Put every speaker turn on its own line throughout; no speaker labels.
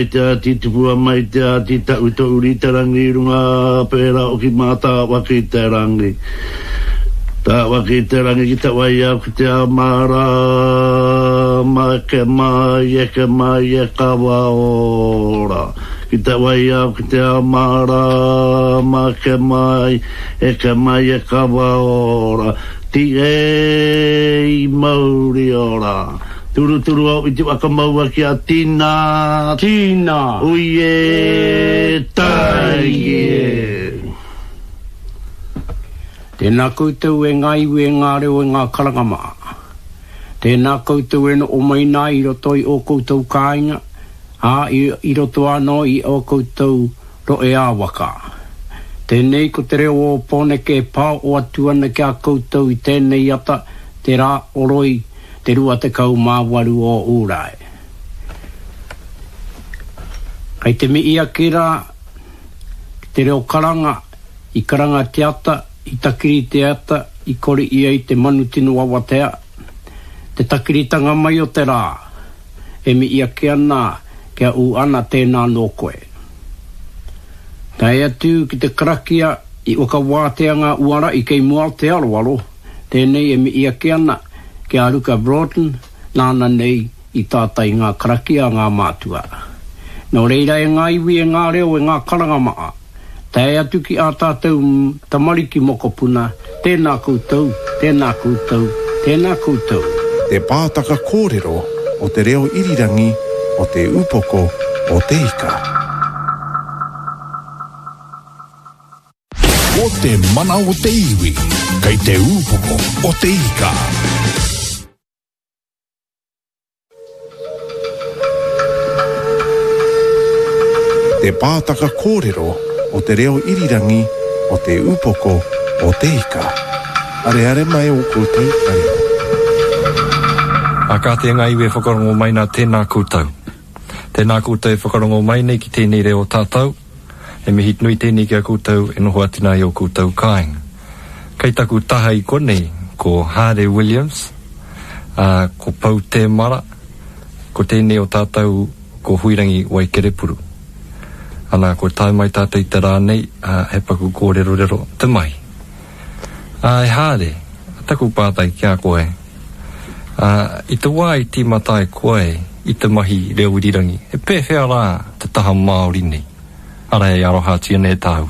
Te āti tupua mai te āti ta'u to'u riterangi i runga pērā o ki mātāwaki te rangi. Tāwaki te rangi ki te waiau ki te ao mārama eke mai eke mai e kawa ora. Ki te waiau ki te ao mārama eke mai eke mai e kawa ora. Ti e i mauri ora. Turuturu au i te waka maua ki a Tina.
Tina!
Ui e, tai e.
Tēnā koutou e ngā iwi e ngā reo e ngā karanga maha. Tēnā koutou e noho mai nā i roto i ō koutou kāinga, ā, i roto anō i ō koutou rohe ā-waka. Tēnei ko te reo o Pōneke e pāoho atu ana ki a koutou i tēnei ata, te rā oroi, te 28 o Ūrae. Kei te mihi ake rā ki te reo karanga, i karanga te ata, i takiri te ata, i kori ia i te manu tino awatea, te takiritanga mai o te rā, e mihi ake ana kia ū ana tēnā nō koe. Tae atu ki te karakia i whakawātea ngā uara i kei mua o te aroaro, Tēnei e mihi ake ana ki a Ruka Broughton, nāna nei i tātai ngā karakia a ngā mātua. Nō reira e ngā iwi, e ngā reo, e ngā karanga maha, tae atu ki ā tātou tamariki mokopuna, tēnā koutou, tēnā koutou, tēnā koutou.
Te pātaka kōrero o te reo irirangi o Te Upoko o Te Ika.
Ko te mana o te iwi, kei te ūpoko o te ika.
Te pātaka kōrero o te reo irirangi o Te Upoko o Te Ika. Areare mai ō koutou taringa.
Ā, kāti e ngā iwi e whakarongo mai nā, tēnā koutou. Tēnā koutou e whakarongo mai nei ki tēnei reo tātou. He mihi nui tēnei ki a koutou e noho atu nā i ō koutou kāinga. Kei taku taha i konei ko Haare Williams, ā, ko Pou Tēmara, ko tēnei o tātou ko Huirangi Waikerepuru. Ana, kua tae mai tātou i te rā nei, ā, he paku kōrerorero te mahi. Ā, e Haare, taku pātai ki a koe, ā, i te wā i tīmata ai koe i te mahi reo irirangi, he pēwhea rā te taha Māori nei, arā e arohatia nei e tāu?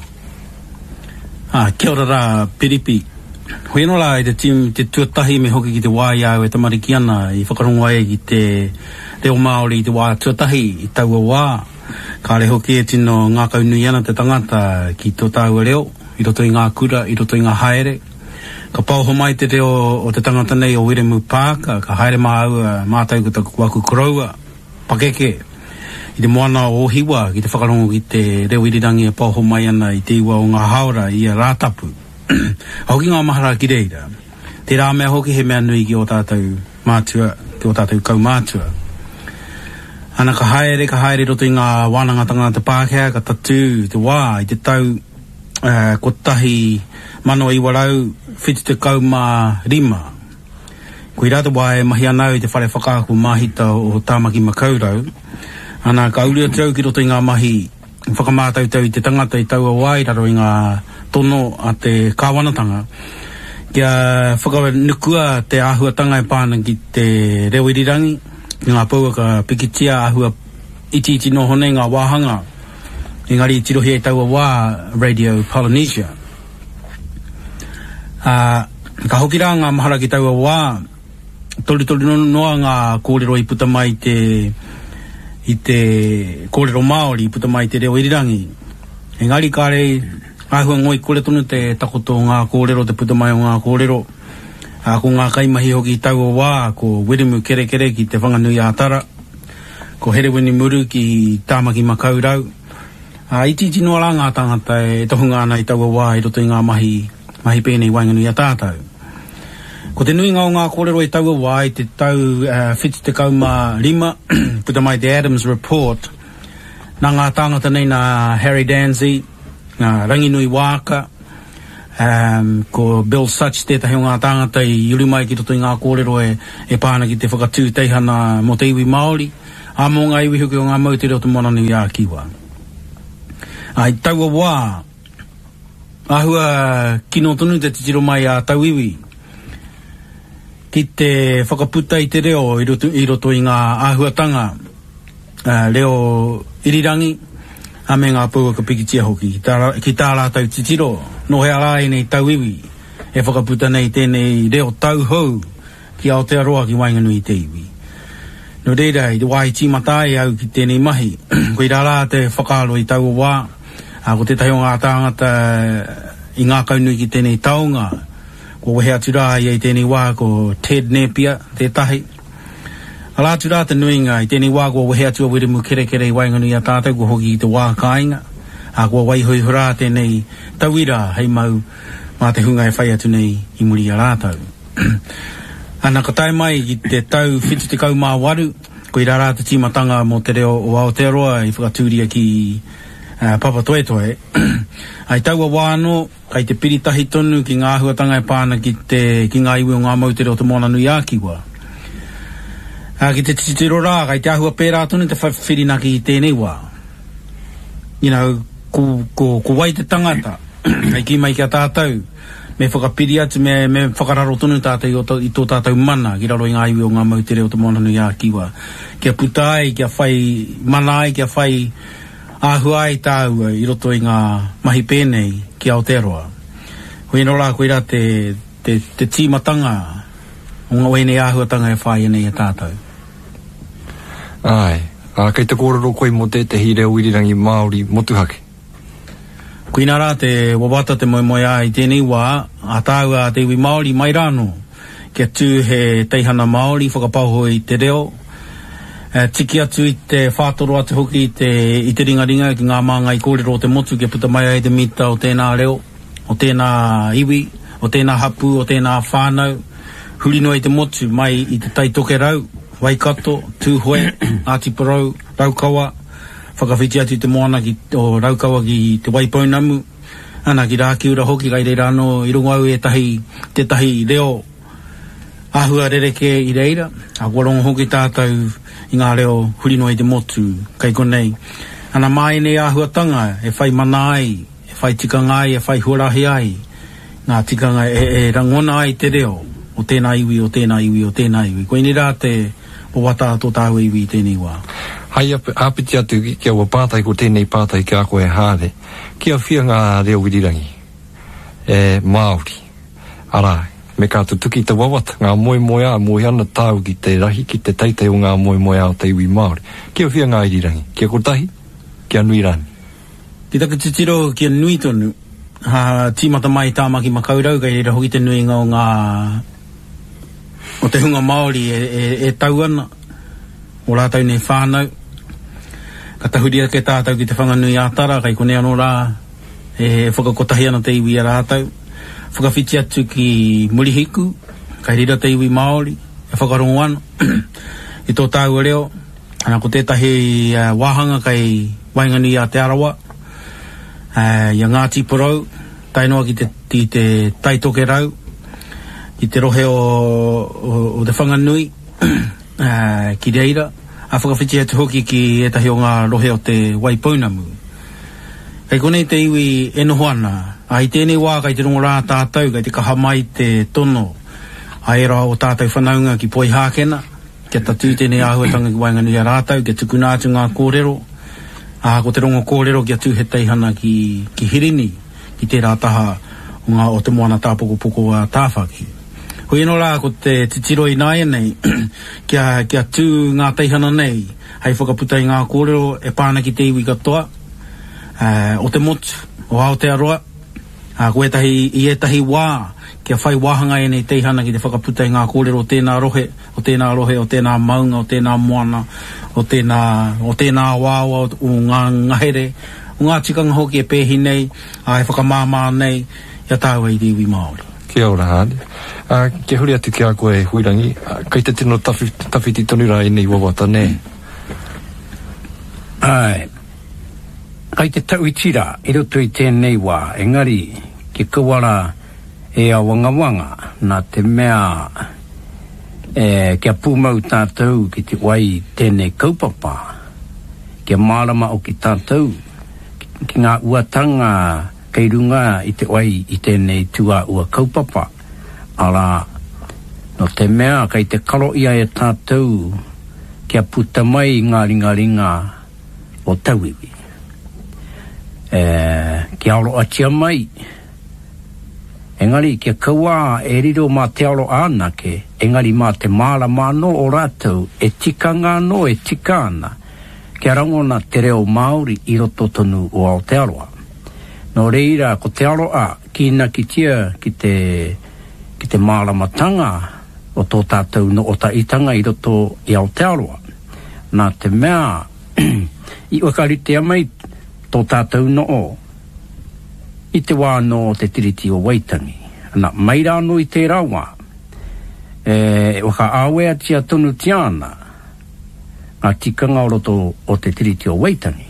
Ā, kia ora rā, Piripi. Hoi anō rā i te tīm, te tuatahi me hoki ki te wā i a au e tamariki ana i whakarongo ai ki te reo Māori i te wā tuatahi i taua wā. Kāre hoki e tino ngākaunui ana te tangata ki tō tāua reo i roto i ngā kura, i roto i ngā haere. Ka paoho mai te reo o te tangata nei o Wiremu Parker, ka haere māua, mātou ko taku, aku koroua pakeke i te moana o Ōhiwa ki te whakarongo ki te reo irirangi e paoho mai ana i te iwa o ngā hāora i ia Rātapu. Ka hoki ngā mahara ki reira. Tērā mea hoki he mea nui ki ō tātou mātua, ki ō tātou kaumātua. Ana ka haere, ka haere i roto i ngā wānangatanga a te Pākehā, ka tatū te wā i te tau 1975. Koirā te wā e mahi ana au i te whare whakaako māhita o Tāmaki Makaurau. Ana ka uru atu au ki roto i ngā mahi whakamātautau i te tangata i taua wā i raro i ngā tono a te kāwanatanga kia whakanukua te āhuatanga e pā ana ki te reo irirangi, ki ngā pouaka pikitia āhua itiiti noho nei ngā wāhanga, engari i tirohia i taua wā Radio Polynesia. Ā, ka hoki rā ngā mahara ki taua wā, Torutoru noa ngā kōrero i puta mai i te, i te kōrero Māori, i puta mai i te reo irirangi. Engari kāre āhua ngoikore tonu te takoto o ngā kōrero, te puta mai o ngā kōrero. Ā, ko ngā kaimahi hoki i taua wā, ko Wiremu Kerekere ki Te Whanganui-ā-Tara, ko Herewini Muru ki Tāmaki Makaurau. Ā, itiiti noa rā ngā tāngata e tohunga ana i taua wā i roto i ngā mahi, mahi pēnei i waenganui i a tātou. Ko te nuinga o ngā kōrero i taua wā i te tau 75, puta mai te Adams Report, nā ngā tāngata nei nā Harry Dansey, nā Ranginui Waaka, um, ko Bill Sutch tētahi o ngā tāngata i uru mai ki roto i ngā kōrero e, e pā ana ki te whakatū teihana mō te iwi Māori. Ā, mō ngā iwi hoki o ngā moutere o Te Moananui-a-Kiwa. Ā, i taua wā, āhua kino tonu te titiro mai a tauiwi ki te whakaputa i te reo i roto, i roto i ngā āhuatanga reo irirangi, ā, me ngā pouaka pikitia hoki, ki tā, ki tā rātou titiro, nō hea rā ēnei tauiwi e whakaputa nei tēnei reo tauhou ki Aotearoa ki waenganui i te iwi. Nō reira, i te wā i tīmata ai au ki tēnei mahi, koirā rā te whakaaro i taua wā, ā, ko tētahi o ngā tāngata i ngākaunui ki tēnei taonga, kua wehe atu rā ia i tēnei wā, ko Ted Nēpia tētahi. Arā atu rā te nuinga, i tēnei wā kua wehe atu a Wiremu Kerekere i waenganui i a tātou, kua hoki ki te wā kāinga, ā, kua waiho iho rā tēnei tauira hei mau mā te hunga e whai atu nei i muri i a rātou. Ana, ka tae mai ki te tau 78, koirā rā te tīmatanga mō te reo o Aotearoa i whakatūria ki Papatoetoe. Ā, i taua wā anō, Kei te piri tahi tonu ki ngā āhuatanga e pā ana ki te, ki ngā iwi o ngā moutere o Te Moananui-a-Kiwa. Ā, ki te titiro rā, kei te āhua pērā tonu te whirinaki i tēnei wā. You know, ko, ko, ko wai te tangata hei kī mai ki a tātou, me whakapiri atu, me, me whakararo tonu tātou i, o, i tō tātou mana ki raro i ngā iwi o ngā moutere o Te Moananui-a-Kiwa. Kia puta ai, kia whai mana ai, kia whai Āhua ai tāua i roto i ngā mahi pēnei ki Aotearoa. Hoi anō rā, koirā te, te, te tīmatanga o ngā, o ēnei āhuatanga e whāia nei e tātou.
Āe. Ā, kei te kōrero koe mō tētehi reo irirangi Māori motuhake.
Koinā rā te wawata, te moemoeā i tēnei wā, a tāua a te iwi Māori mai rānō. Kia tū he teihana Māori whakapaoho i te reo, tiki atu i te whātoro atu hoki i te, i te ringaringa ki ngā māngai kōrero o te motu kia puta mai ai te mita o tēnā reo, o tēnā iwi, o tēnā hapū, o tēnā whānau, huri noa i te motu, mai i Te Tai Tokerau, Waikato, Tūhoe, Ngāti Porou, Raukawa, whakawhiti atu i te moana ki, o Raukawa ki Te Waipounamu, Ana, ki Rākiura hoki, kai reira anō i rongo au ētahi, tētahi reo āhua rerekē i reira, ā, kua rongo hoki tātou i ngā reo huri noa i te motu, kai konei. Ana, mā ēnei āhuatanga e whai mana ai, e whai tikanga ai, e whai huarahi ai ngā tikanga e, e rangona ai te reo o tēnā iwi, o tēnā iwi, o tēnā iwi. Koinei rā te wawata a tō tāua iwi i tēnei wā.
Hai āpiti atu ki aua pātai, ko tēnei pātai ki a koe Haare. Kia whia ngā reo irirangi e Māori, arā, me ka tutuki te wawata, ngā moemoeā, moe ana tāu ki te rahi, ki te teitei o ngā moemoeā o te iwi Māori. Kia whia ngā irirangi? Kia kotahi? Kia nui rānei?
Ki taku titiro, kia nui tonu. Ha, tīmata mai i Tāmaki Makaurau, kei reira hoki te nuinga o ngā, o te hunga Māori e, e, e tau ana. Ō rātou nei whānau. Ka tahuri ake tātou ki Te Whanganui-ā-Tara, kei konei anō rā e whakakotahi ana te iwi i a rātou. Whakawhiti atu ki Murihiku, kei reira te iwi Māori e whakarongo ana i tō tāua reo. Ana, ko tētahi wāhanga kei waenganui i a Te Arawa, i a Ngāti Porou, tae noa ki te, ki te Tai Tokerau, ki te rohe o, o, o Te Whanganui. ā, ki reira, ā, whakawhiti atu hoki ki ētahi o ngā rohe o Te Waipounamu. Kei konei te iwi e noho ana, ā, i tēnei wā kei te rongo rā tātou, kei te kaha mai te tono a ērā o tātou whanaunga ki Poihākena, kia tatū tēnei āhuatanga ki waenganui i a rātou, kia tukuna atu ngā kōrero, ā, ko te rongo kōrero kia tū he teihana ki, ki Hirini, ki tērā taha o ngā, o te moana tāpokopoko a Tāwhaki. Hoi anō rā ko te titiro ināianei kia, kia tū ngā teihana nei hei whakaputa i ngā kōrero e pā ana ki te iwi katoa o te motu, o Aotearoa, ā, ko ētahi, i ētahi wā kia whai wāhanga ēnei teihana ki te whakaputa i ngā kōrero o tēnā rohe, o tēnā rohe, o tēnā maunga, o tēnā moana, o tēnā, o tēnā awaawa, o ngā ngahere, o ngā tikanga hoki e pēhi nei, ā, e whakamāmā nei i a tāua i te iwi Māori.
Kia ora, Haane. Ā, kia huri atu ki a koe, Huirangi, kei te tino tawhiti tonu rā ēnei wawata, nē?
Āe. Kei te tauiti rā i roto i tēnei wā, engari kia kaua rā e awangawanga, nā te mea E, kia pūmau tātou ki te wai i tēnei kaupapa, kia mārama hoki tātou ki ngā uatanga kei runga i te wai i tēnei tūāua kaupapa, arā, nō te mea kei te karo ia e tātou kia puta mai ngā ringaringa o tauiwi. E, kia aroatia mai, engari kia kaua e riro mā te aro anake, engari mā te mārama anō o rātou e tikanga anō e tika ana kia rangona te reo Māori i roto tonu o Aotearoa. Nō reira, ko te aroa kīnakitia ki te, ki te māramatanga o tō tātou no'otaitanga i roto i Aotearoa. Nā te mea, i whakaritea mai tō tātou no'o i te wā anō o te Tiriti o Waitangi. Ana, mai rā anō i tērā wā, e whakaaweatia tonutia ana ngā tikanga o roto o te Tiriti o Waitangi.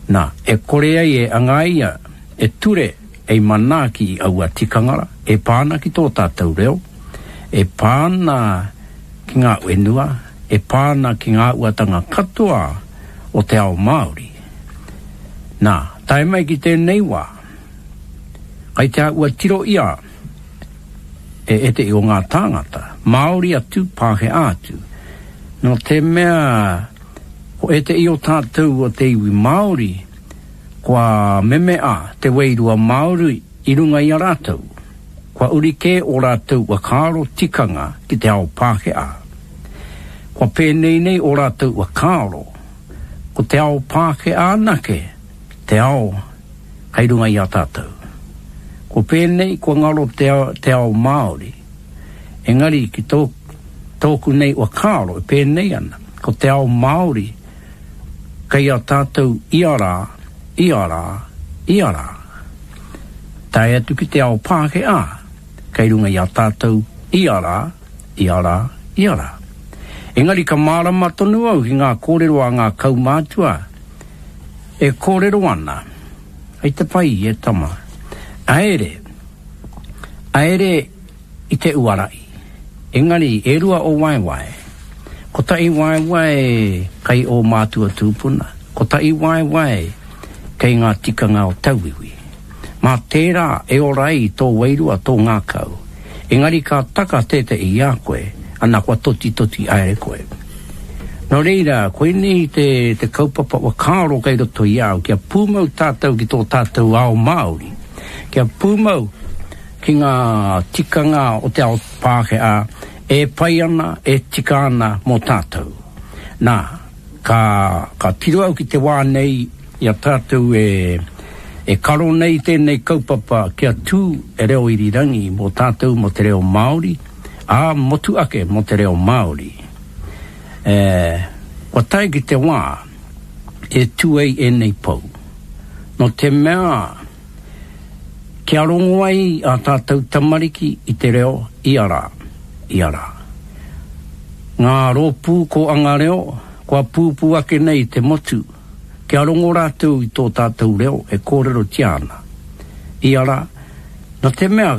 Nā, e kore ai e angaia e ture ei manaaki i aua tikanga rā, e pā ana ki tō tātou reo, e pā ana ki ngā whenua, e pā ana ki ngā uatanga katoa o te ao Māori. Nā, tae mai ki tēnei wā, kai te āhua tiro ia e ētehi o ngā tāngata, Māori atu, Pākehā atu, nō te mea ko ētehi o tātou o te iwi Māori, kua memea te wairua Māori i runga i a rātou, kua uri kē ō rātou whakaaro tikanga ki te ao Pākehā. Kua pēnei nei ō rātou whakaaro, ko te ao Pākehā anake te ao kei runga i a tātou. Kua pēnei, kua ngaro te, te ao Māori. Engari ki tō, tōku nei whakaaro e pēnei ana, ko te ao Māori kei a tātou ia rā, ia rā, ia rā. Tae atu ki te ao Pākehā kei runga i a tātou ia rā, ia rā, ia rā. Engari ka mārama tonu au ki ngā kōrero a ngā kaumātua e kōrero ana, Hei te pai e tama, aere, aere i te uara'i. Engari e rua o waewae. Kotahi waewae kei ō mātua tūpuna, kotahi waewae kei ngā tikanga o tauiwi. Mā tērā e ora ai tō wairua, tō ngākau. Engari ka taka tētehi i a koe, ana kua totitoti haere koe. Nō reira, koinei te, te kaupapa whakaaro kei roto i a au, kia pūmau tātou ki tō tātou ao Māori, kia pūmau ki ngā tikanga o te ao Pākehā e pai ana, e tika ana mō tātou. Nā, ka, ka tiro au ki te wā nei i a tātou e, e karo nei tēnei kaupapa kia tū e reo irirangi mō tātou mō te reo Māori, ā, motu ake mō te reo Māori. E, kua tae ki te wā e tū ai ēnei pou. Nō te mea, Kia rongo ai ā tātou tamariki i te reo ia rā, ia rā. Ngā rōpū kōanga reo kua pūpū ake nei i te motu, kia rongo rātou i tō tātou reo e kōrerotia ana ia rā, nō te mea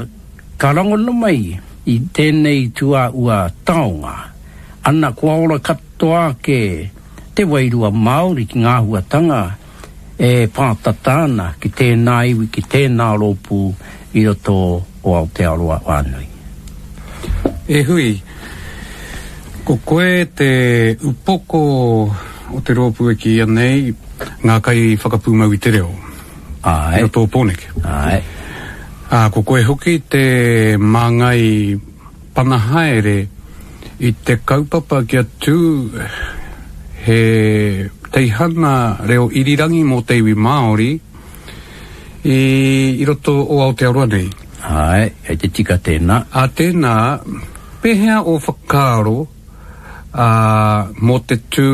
ka rangona mai i tēnei tūāua taonga, ana kua ora katoa ake te wairua Māori ki ngā āhuatanga e pātata ana ki tēnā iwi, ki tēnā rōpū i roto o Aotearoa whānui.
E Hui, ko koe te upoko o te rōpū e kīia nei Ngā Kaiwhakapūmau i te Reo.
Āe.
I roto o Pōneke.
Āe.
Ā, ko koe hoki te māngai pana haere i te kaupapa kia tū he teihana reo irirangi mō te iwi Māori i, i roto o Aotearoa nei.
Āe, kei te tika tēnā.
Ā tēnā, pēhea ō whakaaro ā, mō te tū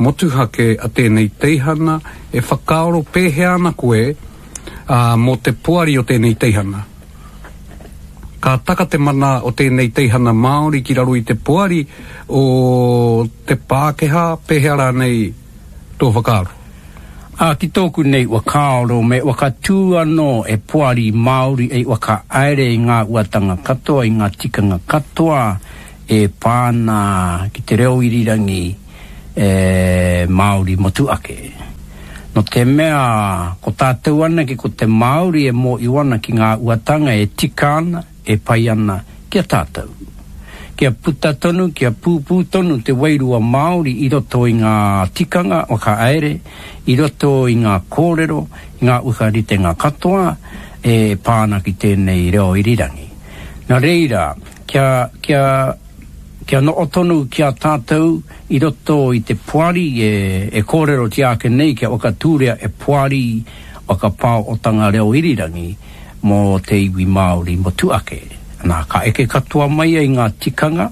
motuhake a tēnei teihana, e whakaaro pēhea ana koe ā, mō te poari o tēnei teihana? Ka taka te mana o tēnei teihana Māori ki raro i te poari o te Pākehā, pēhea rānei tō whakaaro?
Ā, ki tōku nei whakaaro me whakatū anō e poari Māori ei whakahaere i ngā uatanga katoa, i ngā tikanga katoa. e pā ana ki te reo irirangi e Māori motuake. No te mea ko tātou anake ko te Māori e mōio ana ki ngā uatanga e tika ana, e pai ana ki a tātou. Kia puta tonu, kia pūpū tonu te wairua Māori i roto i ngā tikanga whakahaere, i roto i ngā kōrero, i ngā whakaritenga katoa e pā ana ki tēnei reo irirangi. Nā reira, kia, kia, kia noho tonu ki a tātou i roto i te poari e, e kōrerotia ake nei kia whakatūria e poari whakapaohotanga reo irirangi, mō te iwi Māori motuake. Nā, ka eke katoa mai ai ngā tikanga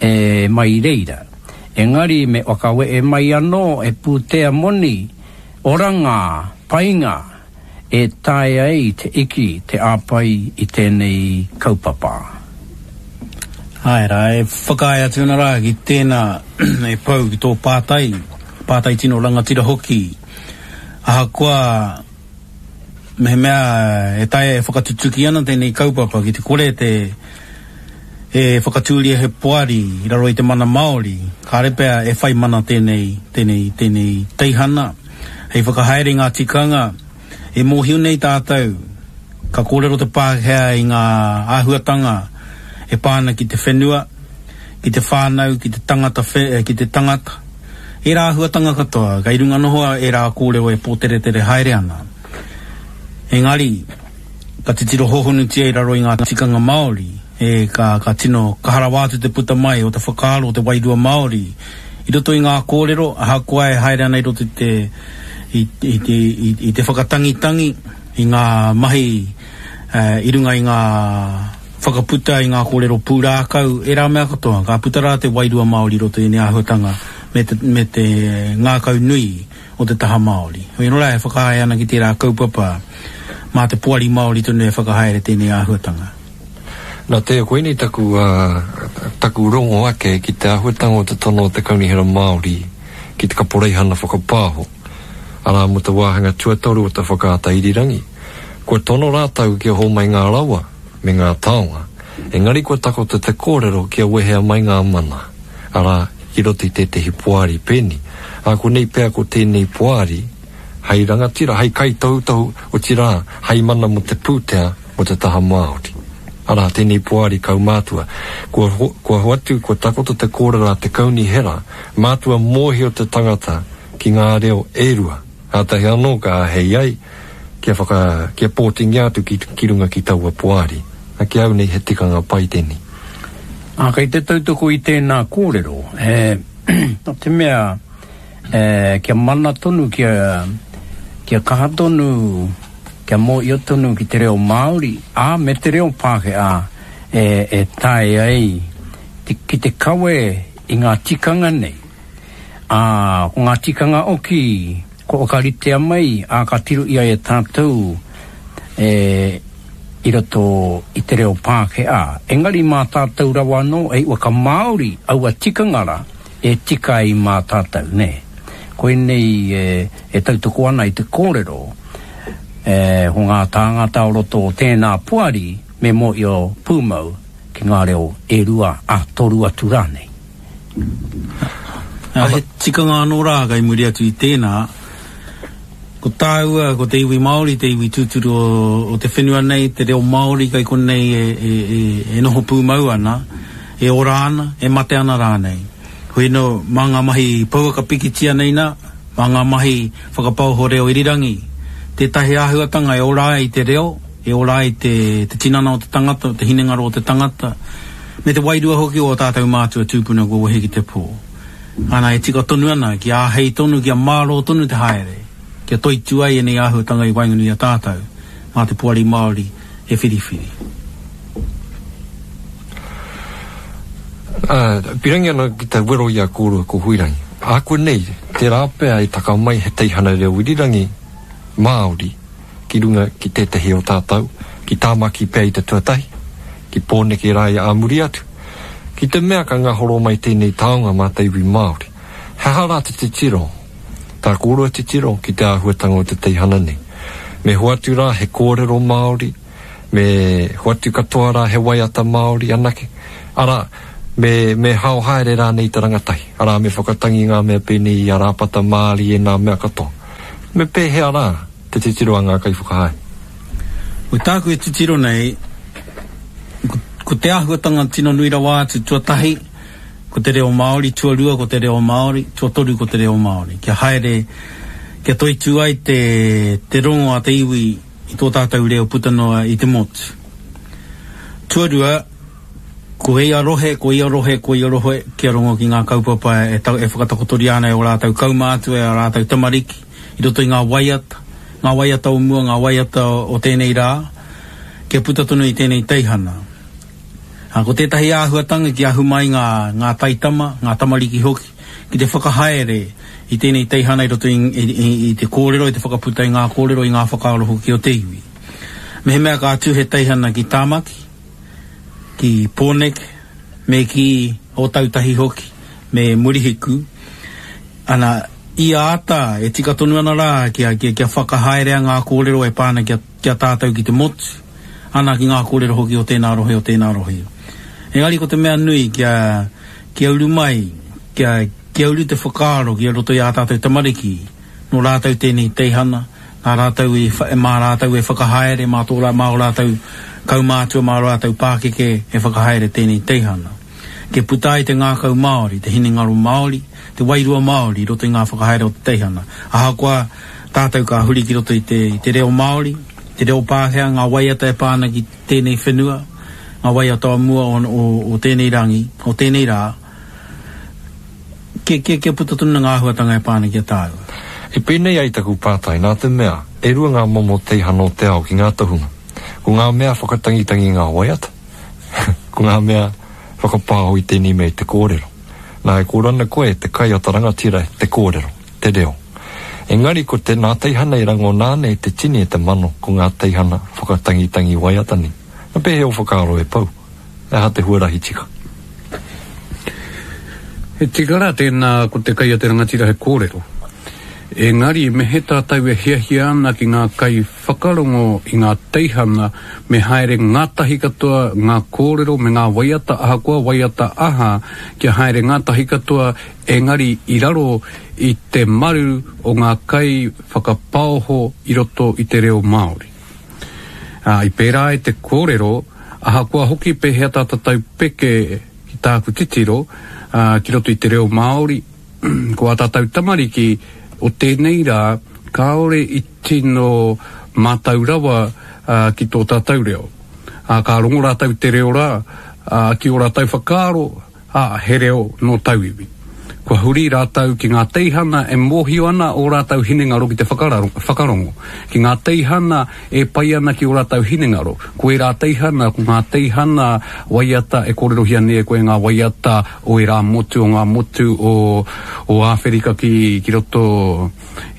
e mai i reira. Engari me whakawehe mai anō he pūtea moni, oranga, painga e taea ai te iki te āpai i tēnei kaupapa.
Āe rā, e whakaae atu ana rā ki tēnā e Pou ki tō pātai, pātai tino rangatira hoki. Ahakoa Mehemea e taea e whakatutuki ana tēnei kaupapa ki te kore te e whakatūria he poari i raro i te mana Māori, kāre pea e whai mana tēnei, tēnei, tēnei teihana hei whakahaere i ngā tikanga e mōhio nei tātou ka kōrero te Pākehā i ngā āhuatanga e pā ana ki te whenua, ki te whānau, ki te tangata, ki te tangata. Ērā āhuatanga katoa, kei runga noho ērā kōrero e pōteretere haere ana. Engari, ka titiro hōhonutia i raro i ngā tikanga Māori, e, ka, ka tino kaha rawa atu te puta mai o te whakaaro o te wairua Māori i roto i ngā kōrero, ahakoa e haere ana i roto i te, i, i te, i, i te whakatangitangi, i ngā mahi, i runga i ngā whakaputa i ngā kōrero pūrākau, ērā mea katoa, ka puta rā te wairua Māori i roto i ēnei āhuatanga me te, me te ngākau nui o te taha Māori. Hoi anō rā e whakaae ana ki tērā kaupapa, mā te Poari Māori tonu e whakahaere tēnei āhuatanga.
Nā te, koinei taku, taku rongo ake ki te āhuatanga o te tono o te Kaunihera Māori ki te Kaporeihana Whakapāho, arā mō te wāhanga tuatoru o te whakaata irirangi. Kua tono rātou kia hōmai ngā rawa me ngā taonga, engari kua takoto te kōrero kia wehea mai ngā mana, arā, ki roto i tētehi poari pēni. Ā konei pea ko tēnei poari hei rangatira, hei kaitohutohu, otirā, hei mana mō te pūtea mō te taha Māori. Arā, tēnei poari kaumātua. Kua, kua hoatu, kua takoto te kōrero a te kaunihera, mātua mōhio te tangata ki ngā reo e rua, kātahi anō ka āhei ai kia whaka, kia pōtingia atu ki, ki runga ki taua poari. A ki au nei he tikanga pai tēnei.
Ā, kei te tautoko i tēnā kōrero, e, nō te mea, e, kia mana tonu, kia, kia kaha tonu, kia mōhio tonu ki te reo Māori, ā, me te reo Pākehā, e, e taea ai te, ki te kawe i ngā tikanga nei. Ā, ko ngā tikanga oki kua whakaritea mai, ā, ka tiro ia e tātou, e, i roto i te reo Pākehā. Engari mā tātou rawa anō e whakamāori aua tikanga rā e tika ai mā tātou, nē. Koinei e, e tautoko ana i te kōrero, e, ko ngā tāngata o roto o tēnā poari me mōhio pūmau ki ngā reo e rua, ā, toru atu rānei.
Ā, he tikanga anō rā kei muri atu i tēnā, ko tāua, ko te iwi Māori, te iwi tūturu o, o te whenua nei, te reo Māori kei konei e, e, e, e noho pūmau ana, e ora ana, e mate ana rānei. Hoi anō, mā ngā mahi pouaka pikitia nei nā, mā ngā mahi whakapaoho reo irirangi, tētahi āhuatanga e ora ai te reo, e ora ai te, te tinana o te tangata, te hinengaro o te tangata, me te wairua hoki o ō tātou mātua tūpuna kua wehe ki te pō. Ana, e tika tonu ana, kia āhei tonu, kia mārō tonu te haere, kia toitū ai ēnei āhuatanga i waenganui i a tātou, mā te Poari Māori e whiriwhiri.
Ā, pirangi ana ki te wero i a kōrua ko Huirangi. Ākuanei, tērā pea e taka mai he teihana reo irirangi Māori, ki runga ki tētehi o tātou, ki Tāmaki pea i te tuatahi, ki Pōneke rā i ā muri atu. Ki te mea ka ngahoro mai tēnei taonga mā te iwi Māori, he aha rā te titiro, tā kōrua titiro ki te āhuatanga o te teihana nei? Me hoatu rā he kōrero Māori, me hoatu katoa rā he waiata Māori anake? Arā, Me, me hao haere rānei te rangatahi, arā, me whakatangi ngā mea pēnei i a Rāpata Māri e nā mea katoa. Me pēhea rā te titiro a ngā kaiwhakahaere?
Ko tāku e titiro nei, ko, ko te āhuatanga tino nui rawa atu, tuatahi, ko te reo Māori, tuarua ko te reo Māori, tuatoru ko te reo Māori. Kia haere, kia toitū ai te, te rongo a te iwi i tō tātou reo puta noa i te motu. Tuarua, Ko ia rohe, ko ia rohe, ko ia rohe, kia rongo ki ngā kaupapa e, e whakatakotoria ana e ō rātou kaumātua, e ā rātou tamariki, i roto i ngā waiata, ngā waiata o mua, ngā waiata o tēnei rā, kia puta tonu i tēnei teihana. Ā, ko tētahi āhuatanga kia ahu mai ngā, ngā taitama, ngā tamariki hoki, ki te whakahaere i tēnei teihana i roto i, i, i, i te kōrero, i te whakaputa i ngā kōrero, i ngā whakaaro hoki o te iwi. Mehemea ka tū he teihana ki Tāmaki, ki Pōneke, me ki Ōtautahi hoki, me Murihiku, ana, ia ata e tika tonu ana rā kia, kia, kia whakahaerea ngā kōrero e pā ana ki a, ki a tātou ki te motu, ana ki ngā kōrero hoki o tēnā rohe, o tēnā rohe. Engari ko te mea nui kia, kia uru mai, kia, kia uru te whakaaro ki roto i ā tātou tamariki, Nō rātou tēnei teihana, nā rātou i, mā rātou e whakahaere, mā tō rā, mā ō rātou kaumātua, mā ō rātou pākeke e whakahaere tēnei teihana. Kia puta ai te ngākau Māori, te hinengaro Māori, te wairua Māori i roto i ngā whakahaere o te teihana. Ahakoa tātou ka huri ki roto i te, i te reo Māori, te reo Pākehā, ngā waiata e pā ana ki tēnei whenua, ngā waiata o mua o, o, o tēnei rangi, o tēnei rā, Kia, kia, kia puta tonu ngā āhuatanga e pā ana ki a tāua.
I pēnei ai taku pātai, nā te mea, e rua ngā momo teihana o te ao ki ngā tohunga. Ko ngā mea whakatangitangi i ngā waiata, ko ngā mea whakapāho i tēnei mea i te kōrero. Nā, e kōrero ana koe, te kai a ta rangatira, te kōrero, te reo. Engari ko te, nā teihana i rangona ana e te tini e te mano, ko ngā teihana whakatangitangi waiata nei. Nā pēhea ō whakaaro e Pou? He aha te huarahi tika?
He tika rā tēnā ko te kai a te rangatira he kōrero. Engari me he tātou e hiahia ana ki ngā kai whakarongo i ngā teihana me haere ngātahi katoa ngā kōrero me ngā waiata ahakoa waiata aha kia haere ngātahi katoa engari i raro i te maru o ngā kai whakapaoho i roto i te reo Māori. Ā, i pērā ai te kōrero, ahakoa hoki pēhea tā tātou peke ki tāku titiro, ā, ki roto i te reo Māori, ko ā tātou tamariki o tēnei rā kāore i tino mātau rawa, ā, ki tō tātou reo. Ā, ka rongo rātou i te reo rā, ā, ki ō rātou whakaaro, ā, he reo nō tauiwi. Kua huri rātou ki ngā teihana e mōhio ana ō rātou hinengaro ki te whakarongo, ki ngā teihana e pai ana ki ō rātou hinengaro. Ko ērā teihana, ko ngā teihana waiata e kōrerohia nei e koe ngā waiata o ērā motu, o ngā motu o, o Āwherika ki, ki roto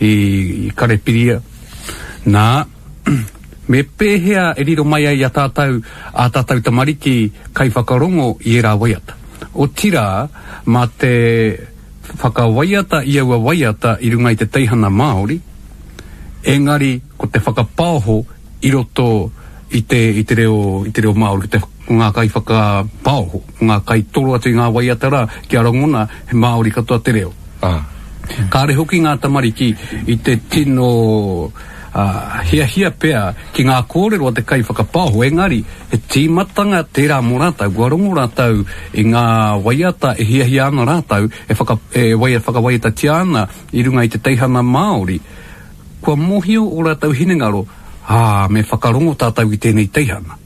i Karepiria. Nā, Me pēhea e riro mai ai i a tātou ā tātou tamariki kaiwhakarongo i ērā waiata? Otirā, mā te whakawaiata i aua waiata i runga i te teihana Māori, engari ko te whakapaoho i roto i te, i te reo, i te reo Māori, ko te, ko ngā kaiwhakapaoho, ko ngā kaitoro atu i ngā waiata rā, kia rangona he Māori katoa te reo. Kāre hoki ngā tamariki i te tino hiahia pea ki ngā kōrero a te kaiwhakapaoho, engari he tīmatanga tērā mō rātou, kua rongo rātou i ngā waiata e hiahia ana rātou, e whaka, e whakawaiatatia ana i runga i te teihana Māori, kua mōhio ō rātou hinengaro, ā, me whakarongo tātou ki tēnei teihana.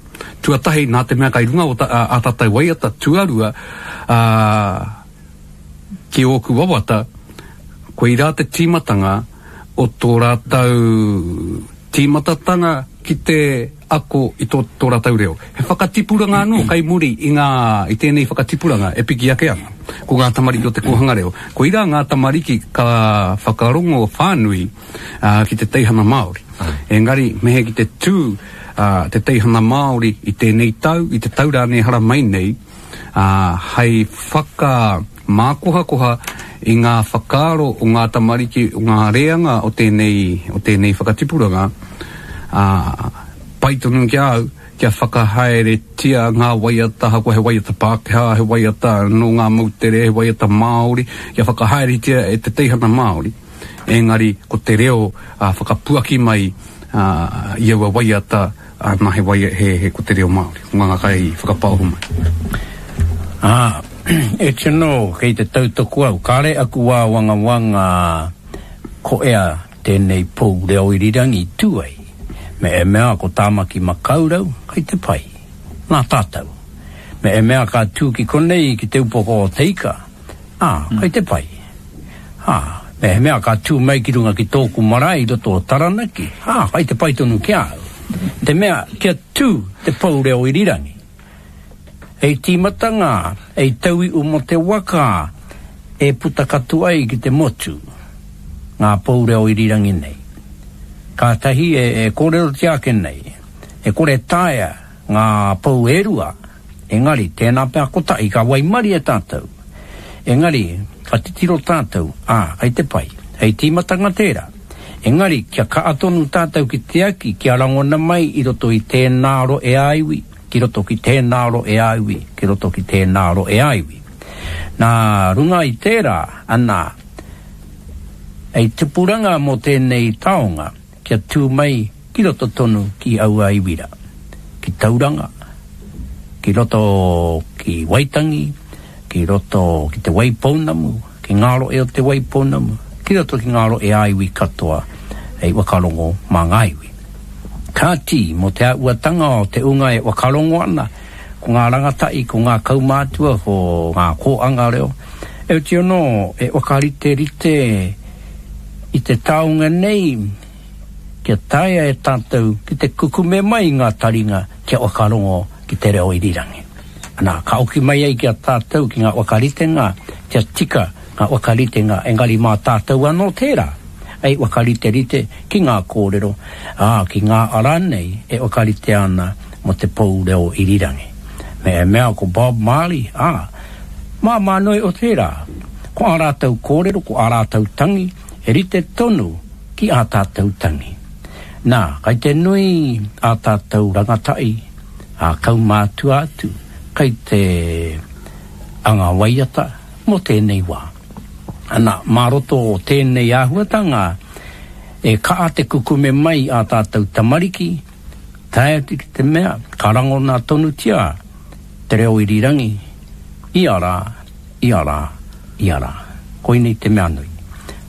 Tuatahi, nā te mea kai runga o ta, ā, ā tātou waiata, tuarua, ā, Ki ōku wawata, koirā te tīmatanga o tō rātou tīmatatanga ki te ako i tō, tō rātou reo. He whakatipuranga anō kai muri i ngā, i tēnei whakatipuranga e piki ake ana. Ko ngā tamariki o te kōhanga reo. Koirā ngā tamariki ka whakarongo whānui ki te teihana Māori. Engari, me he ki te tū te teihana Māori i tēnei tau, i te tau rānei haramai nei, ā, hei whakamākohakoha i ngā whakaaro o ngā tamariki, o ngā reanga o tēnei, o tēnei whakatipuranga, ā, pai tonu ki a au, kia whakahaeretia ngā waiata, ahakoa he waiata Pākehā, he waiata nō ngā moutere, he waiata Māori, kia whakahaeretia e te teihana Māori, engari ko te reo whakapuaki mai i aua waiata, nā he waia, he, he, ko te reo Māori, ko ngā kai whakapaoho mai.
Ā, e tino kei te tautoko au, kāre aku āwangawanga ko ea tēnei pou reo irirangi tū ai, me e mea ko Tāmaki Makaurau kei te pai, nā tātou. Me e mea ka tū ki konei ki Te Upoko o Te Ika, ā, kei te pai. Ā, me he mea ka tū mai ki runga ki tōku marae i roto o Taranaki, ā, kei te pai tonu ki a au. Te mea kia tū te pou reo irirangi. Hei tīmatanga, hei tauiu mō te waka e puta katoa ai ki te motu ngā pou reo irirangi nei. Kātahi e kōrerotia ake nei, e kore taea ngā pou e rua, engari tēnā pea kotahi ka waimarie tātou. Engari, ka titiro tātou, ā, kei te pai. Hei tīmatanga tērā. Engari, kia kaha tonu tātou ki te aki kia rangona mai i roto i tēnā rohe-ā-iwi, ki roto ki tēnā rohe-ā-iwi, ki roto ki tēnā rohe-ā-iwi. Nā runga i tērā, ana, hei tupuranga mō tēnei taonga kia tū mai ki roto tonu ki aua iwi rā, ki Tauranga, ki roto ki Waitangi, ki roto ki Te Waipounamu, ki ngā rohe o Te Waipounamu, ki roto ki ngā rohe-ā-iwi katoa hei whakarongo mā ngā iwi. Kāti, mō te āhuatanga o te unga e whakarongo ana, ko ngā rangatahi, ko ngā kaumātua, ko ngā kōanga reo, heoti anō e whakariterite i te taonga nei kia taea e tātou ki te kukume mai i ngā taringa kia whakarongo ki te reo irirangi. Ana, ka oki mai ai ki a tātou ki ngā whakaritenga kia tika ngā whakaritenga engari mā tātou anō tērā hei whakariterite ki ngā kōrero, ā, ki ngā ara nei e whakaritea ana mō te pou reo irirangi. Me e mea ko Bob Marley, ā, māmā noa iho tērā. Ko ā rātou kōrero, ko ā rātou tangi, he rite tonu ki ā tātou tangi. Nā, kai te nui ā tātou rangatahi, ā kaumātua atu, kai te anga waiata mō tēnei wā. Ana, mā roto o tēnei āhuatanga, e kaha te kukume mai ā tātou tamariki, tae atu ki te mea, ka rangona tonutia te reo irirangi, ia rā, ia rā, ia rā. Koinei te mea nui.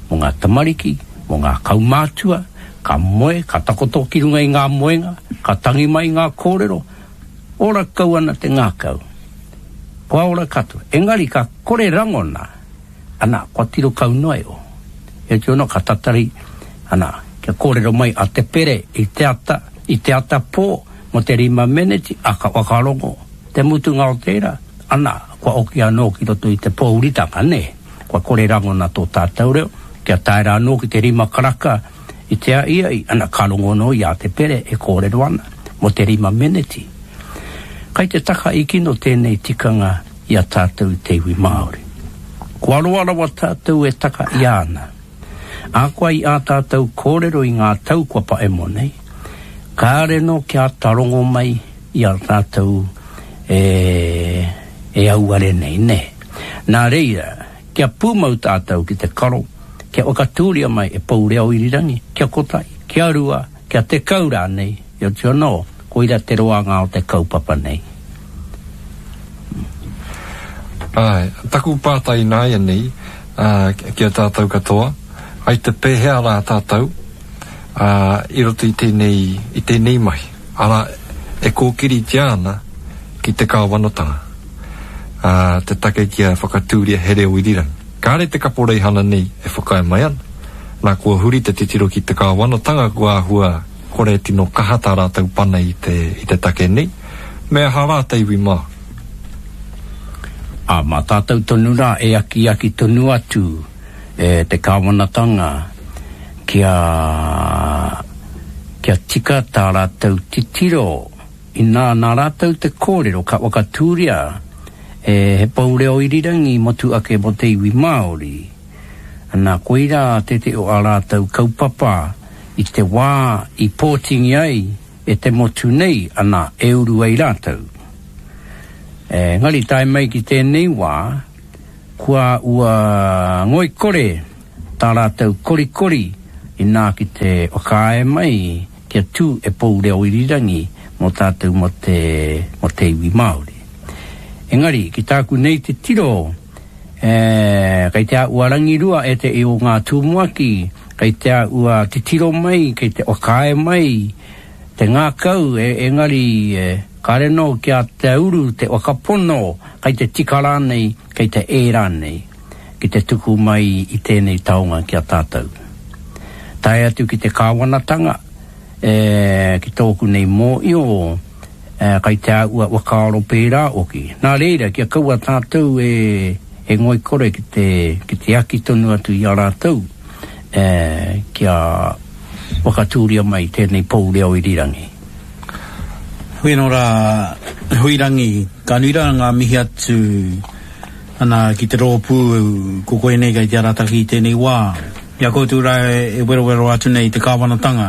Mō ngā tamariki, mō ngā kaumātua, ka moe, ka takoto ki runga i ngā moenga, ka tangi mai ngā kōrero, ora kau ana te ngākau. Kua ora katoa. Engari ka kore rangona, ana, kua tiro kau noa iho. Heoti anō, ka tatari, ana, kia kōrero mai a Te Pere i te ata, i te ata pō, mō te rima meneti, a ka whakarongo. Te mutunga o tērā, ana, kua oki anō ki roto i te pōuritanga, nē? Kua kore rangona tō tātou reo, kia tae rā anō ki te rima karaka i te ahiahi, ana, ka rongo anō i a Te Pere e kōrero ana mō te rima meneti. Kai te taka i kino tēnei tikanga i a tātou i te iwi Māori. Kua roa rawa tātou e taka i ana. Ahakoa i ā tātou kōrero i ngā tau kua paemo nei, kāre nō kia ata rongo mai i a tātou e, e auare nei, nē. Nā reira, kia pūmau tātou ki te karo, kia whakatūria mai e Pou Reo Irirangi, kia kotahi, kia rua, kia tekau rānei, heoti anō, koira te roanga o te kaupapa nei.
Āe, taku pātai ināianei, ā, ki a tātou katoa, ai te pēhea rā tātou, ā, i roto i tēnei, i tēnei mahi, arā, e kōkiritia ana ki te kāwanatanga, ā, te take kia whakatūria he reo irirangi. Kāre te kaporeihana nei e whakaae mai ana, nā kua huri te titiro ki te kāwanatanga kua āhua kore tino kaha tā rātou pana i te, i te take nei, me aha rā te iwi Māori?
Ā, mā tātou tonu rā e akiaki tonu atu e te kāwanatanga kia, kia tika tā rātou titiro inā nā rātou te kōrero ka whakatūria e he pou reo irirangi motu ake mō te iwi Māori. Ana, koirā tētehi o ā rātou kaupapa i te wā i pōtingia ai. e te motu nei, ana, e uru ai rātou. Engari tae mai ki tēnei wā, kua ua ngoikore tā rātou korikori inā ki te whakaae mai kia tū e pou reo irirangi mō tātou mō te, mō te iwi Māori. Engari, ki tāku nei titiro, e, kei te āhua rangirua e te i o ngā tumuaki, kei te āhua titiro mai, kei te whakaae mai te ngākau, e, engari, e, kāre nō kia te uru te whakapono, kei te tika rānei, kei te ē rānei. ki te tuku mai i tēnei taonga ki a tātou. Tae atu ki te kāwanatanga, e, ki tōku nei mōio, e, kai te āhua whakaaro pērā oki. Nā reira, kia kaua tātou e, e ngoikore ki te, ki te aki tonu atu i a rātou, e, kia whakatūria mai tēnei pou reo irirangi.
Hui anō rā, Huirangi, ka nui rā ngā mihi atu Ana, ki te rōpū, ko koe nei kei te arataki i tēnei wā. I a koutou rā e werowero atu nei i te kāwanatanga,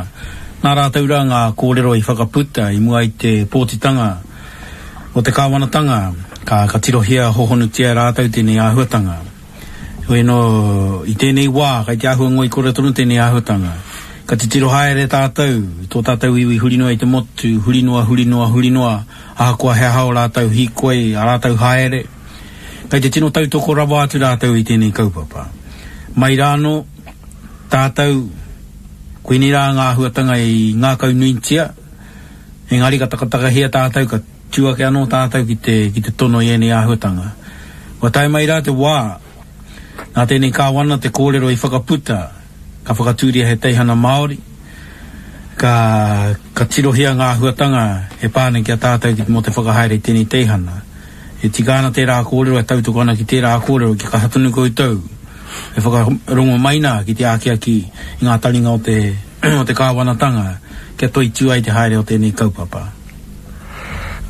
nā rātou rā ngā kōrero i whakaputa i mua i te pōtitanga o te kāwanatanga, ka, ka tirohia hohonutia e rātou tēnei āhuatanga. Heoi anō, i tēnei wā, kei te āhua ngoikore tonu tēnei āhuatanga. Ka titiro haere tātou, i tō tātou iwi huri noa i te motu, huri noa, huri noa, huri noa, ahakoa he aha ō rātou hīkoi, ā rātou haere, Kei te tino tautoko rawa atu rātou i tēnei kaupapa. Mai rānō, tātou, koinei rā ngā āhuatanga i ngākaunuitia, engari ka takatakahia tātou, ka tū ake anō tātou ki te, ki te tono i ēnei āhuatanga. Kua tae mai rā te wā, nā tēnei kāwana te kōrero i whakaputa, ka whakatūria he teihana Māori, ka, ka tirohia ngā āhuatanga e pā ana ki a tātou ki, mō te whakahaere i tēnei teihana. E tika ana tērā kōrero, e tautoko ana ki tērā kōrero, kia kaha tonu koutou e whakarongo mai nā ki te akiaki i ngā taringa o te, o te kāwanatanga kia toitū ai te haere o tēnei kaupapa.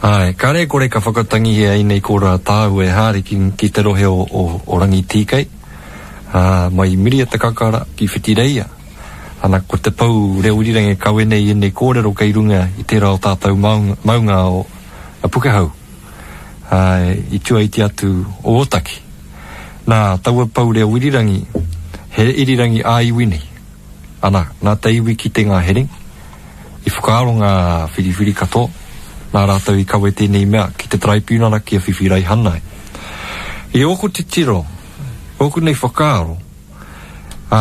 Āe, kāre e kore ka whakatangihia ēnei kōrero a tāua e haere ki, ki te rohe o, o, o Rangitīkei, ā, mai i Miria te Kakara ki Whitireia. Ana, ko te pou reo irirangi e kawe nei i ēnei kōrero kei runga i tērā o tātou maunga, maunga o Pukehou. ā, i tua iti atu o Ōtaki. Nā, taua pou reo irirangi, he irirangi ā-iwi nei. Ana, nā te iwi kite ngā herengi, i whakaaro ngā whiriwhiri katoa, nā rātou i kawe tēnei mea ki te taraipiunara kia whiwhi raihana ai. I ōku titiro, ōku nei whakaaro, ā,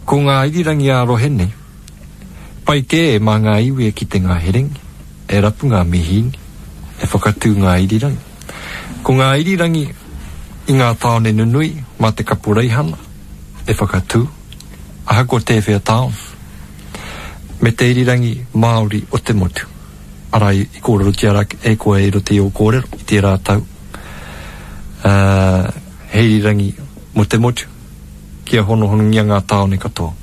ko ngā irirangi ā-rohe nei, pai kē mā ngā iwi e kite ngā herengi, e rapu ngā mihīni, e whakatū ngā irirangi. Ko ngā irirangi i ngā tāone nunui mā te kaporeihana e whakatū, ahakoa tēwhea tāone, me te irirangi Māori o te motu, arā i kōrerotia rā e koe i roto i ō kōrero i tērā tau, ā, he irirangi mō te motu, kia honohonongia ngā tāone katoa.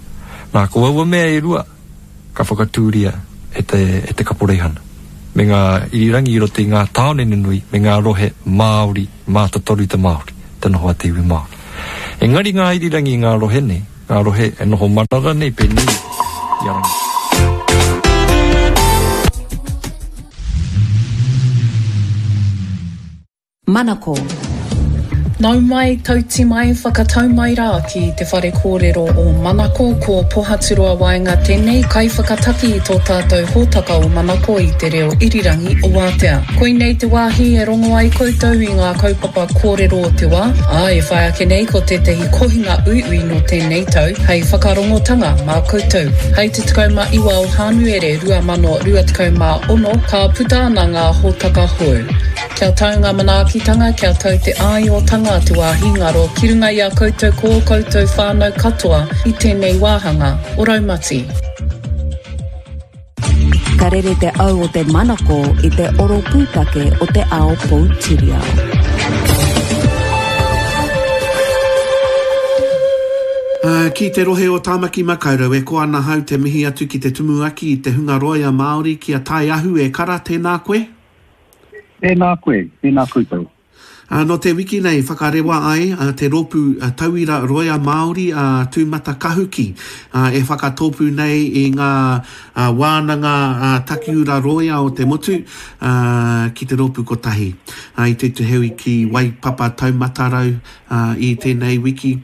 Nā, ko aua mea e rua, ka whakatūria e te, e te kaporeihana, me ngā irirangi i roto i ngā tāone nunui me ngā rohe Māori mātotoru te Māori, te noho a te iwi Māori. Engari ngā irirangi i ngā rohe nei, ngā rohe e noho marara nei pēnei i a Rangi.
Manako. Nau mai, tauti mai, whakatau mai rā ki te whare kōrero o Manako, ko Pohaturoa Waenga tēnei kaiwhakataki i tō tātou hōtaka o Manako i te reo irirangi o Wātea. Koinei te wāhi e rongo ai koutou i ngā kaupapa kōrero o te wā, ā, e whai ake nei ko tētahi kohinga uiui nō tēnei tau hei whakarongotanga mā koutou. Hei te 19 o Hānuere 2026 ka puta ana ngā hōtaka hou. Kia tau ngā manaakitanga, kia tau te āiotanga te wāhi ngaro ki runga i a koutou ko ō koutou whānau katoa i tēnei wāhanga o Raumati.
Ka rere te au o te manako i te oro pūtake o te ao poutiriao.
Ki te rohe o Tāmaki Makaurau, e koa ana hau te mihi atu ki te Tumuaki i te hunga roia Māori, ki a Tae Ahu e kara, tēnā koe.
Tēnā koe, tēnā koutou.
Nō te wiki nei whakarewa ai te rōpū tauira roia Māori a Tūmatakahuki e whakatōpū nei i ngā wānanga takiura rōia o te motu ki te rōpū kotahi. I tūtuheui ki Waipapa Taumatarau i tēnei wiki.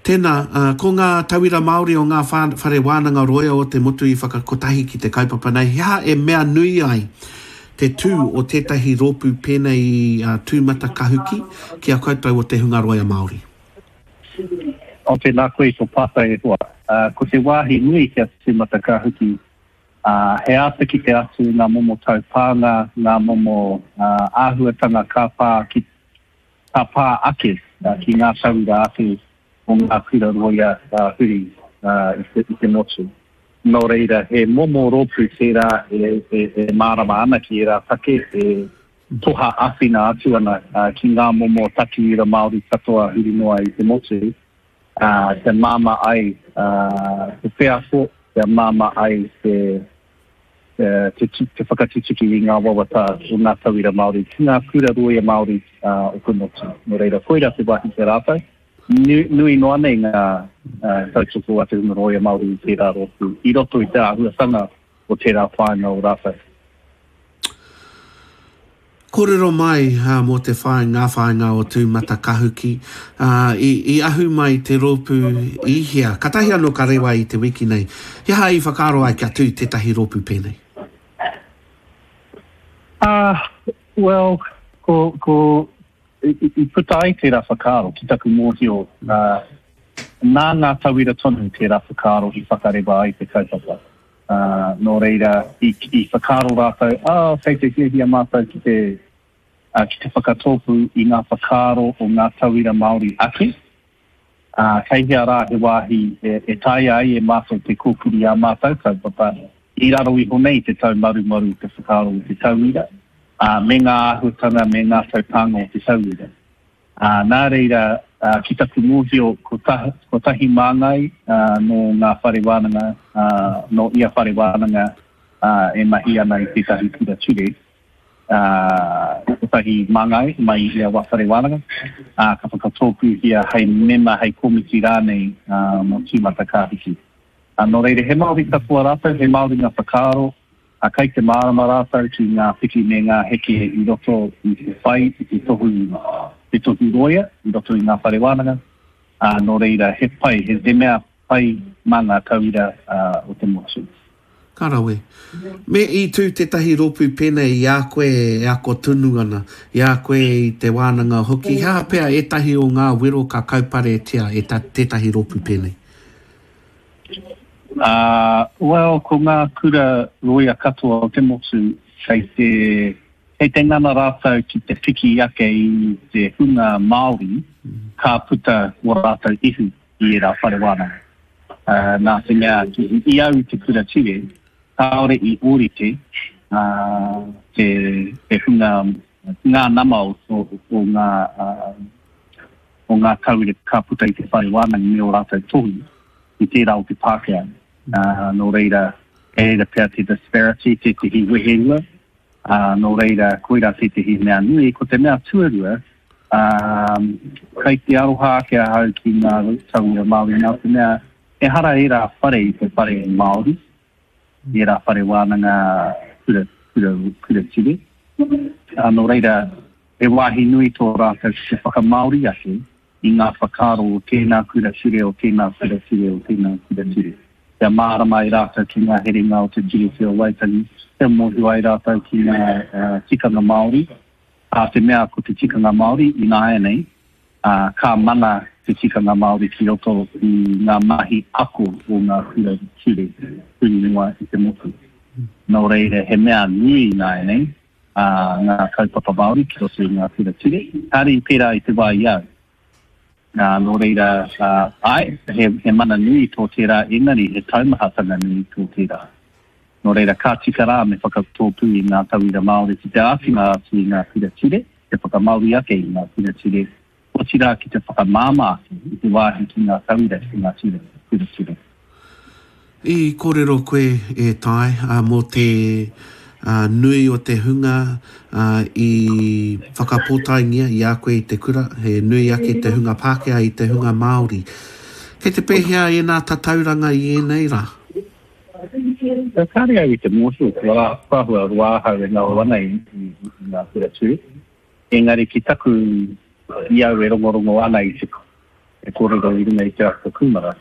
Tēnā, ko ngā tauira Māori o ngā whare wānanga rōia o te motu i whakakotahi ki te kaupapa nei, he aha e mea nui ai te tū o tētahi rōpū pēnei i a Tūmatakahuki ki a koutou o te hunga roia Māori?
Oh, tēnā koe i tō pātai e hoa. Ko te wāhi nui ki a Tūmatakahuki, he āta kite atu i ngā momo taupānga, ngā momo āhuatanga ka pā ki, ka pā ake ki ngā tauira ake o ngā kura rōia huri i te motu. Nō reira, he momo rōpū tērā e mārama ana ki ērā take, e toha āwhina atu ana ki ngā momo takiura Māori katoa huri noa i te motu, kia māmā ai te wheako, kia māmā ai te te whakatutuki i ngā wawata o ngā tauira Māori ki ngā kura rōia Māori o te motu. Nō reira, koirā te wāhi ki a rātou. Nui noa nei ngā tautoko a te hunga rōia Māori i tērā rōpū, i roto i te āhuatanga o tērā whāinga o rātou.
Kōrero mai mō te whāinga, ngā whāinga o Tūmatakahuki. I, i ahu mai te rōpū i hea? Katahi anō ka rewa i te wiki nei. He aha i whakaaro ai kia tū tētahi rōpū pēnei?
Uh, well, ko, ko, i, i puta ai tērā whakaaro ki taku mōhio, uh, nā ngā tauira tonu tērā whakaaro i whakarewa ai te kaupapa. Ā, nō reira, i, i whakaaro rātou, ā, kei te hiahia mātou ki te, ā, ki te whakatōpū i ngā whakaaro o ngā tauira Māori ake, ā, kei hea rā he wāhi e, e taea ai e mātou te kōkiri ā mātou kaupapa i raro iho nei i te taumarumaru o te whakaaro o te tauira, ā, me ngā āhuatanga me ngā taupānga o te tauira. Ā, nā reira, ā, ki taku mōhio, ko ta, kotahi māngai, ā, nō ngā whare wānanga, ā, nō ia whare wānanga, ā, e mahi ana i tētahi kura ture, ā, kotahi māngai mai i ia whare wānanga, ā, ka whakatōpūhia hei mema, hei komiti rānei, ā, mō Tūmatakāhiki. Ā, nō reira, he Māori katoa rātou, he Māori ngā whakaaro, Ā, kei te mārama rātou ki ngā piki me ngā heke i roto i te whai i te tohu, te tohu rōia i roto i ngā whare wānanga, ā, nō reira, he pai, he, he mea pai mā ngā tauira, ā, o te motu.
Ka rawe. Me i tū tētahi rōpū pēnei i a koe e ako tonu ana, i a koe i te wānanga hoki, he aha pea ētahi o ngā wero ka kauparetia e tētahi rōpū pēnei?
Ā, well, ko ngā kura rōia katoa o te motu kei te, kei te ngana rātou ki te piki ake i te hunga Māori ka puta ō rātou ihu i ērā whare wānanga. Ā, nā te mea, i au i te kura ture, kāore i ōrite, ā, te, te hunga, ngā nama o, o, o ngā, ā, o ngā tauira ka puta i te whare wānanga me ō rātou tohu i tērā o te Pākehā. Ā, nō reira, kei reira pea te disparity, tētehi weherua, ā, nō reira, koirā tētehi mea nui. Ko te mea tuarua, ā, kei te aroha ake ahau ki ngā tauira Māori nā te mea ehara ērā whare i te whare Māori, i ērā whare wānanga kura, kura, kura ture. Ā, nō reira, He wāhi nui tō rātou ki te whakamāori ake i ngā whakaaro o tēnā kura ture, o tēnā kura ture, o tēnā kura ture. Kia mārama ai rātou ki ngā herenga o te Tiriti o Waitangi, kia mōhio ai rātou ki ngā tikanga Māori, ā te mea ko te tikanga Māori ināianei, ā, ka mana te tikanga Māori ki roto i ngā mahi ako o ngā kura ture huri noa i te motu. Nō reira, he mea nui ināianei, ā, ngā kaupapa Māori ki roto i ngā kura ture. Kāre i pērā i te wā i au. Ā, nō reira, ā, āe, he, he mana nui tō tērā, engari he taumahatanga nui tō tērā. Nō reira, ka tika rā me whakatōpū i ngā tauira Māori ki te āwhina atu i ngā kura ture, te whakamāori ake i ngā kura ture, otirā ki te whakamāmā ake i te wāhi ki ngā tauira ki ngā ture, kura ture.
I kōrero koe, e Tai, mō te nui o te hunga i whakapōtaengia i a koe i te kura, he nui ake te hunga Pākehā i te hunga Māori. Kei te pēhea ēnā tatauranga i ēnei rā?
Kāre au i te mōhio, kua āhua roa ahau e ngaro ana i ngā kura ture. Engari ki taku, i au e rongorongo ana i te kōrero i runga i te aka kūmara,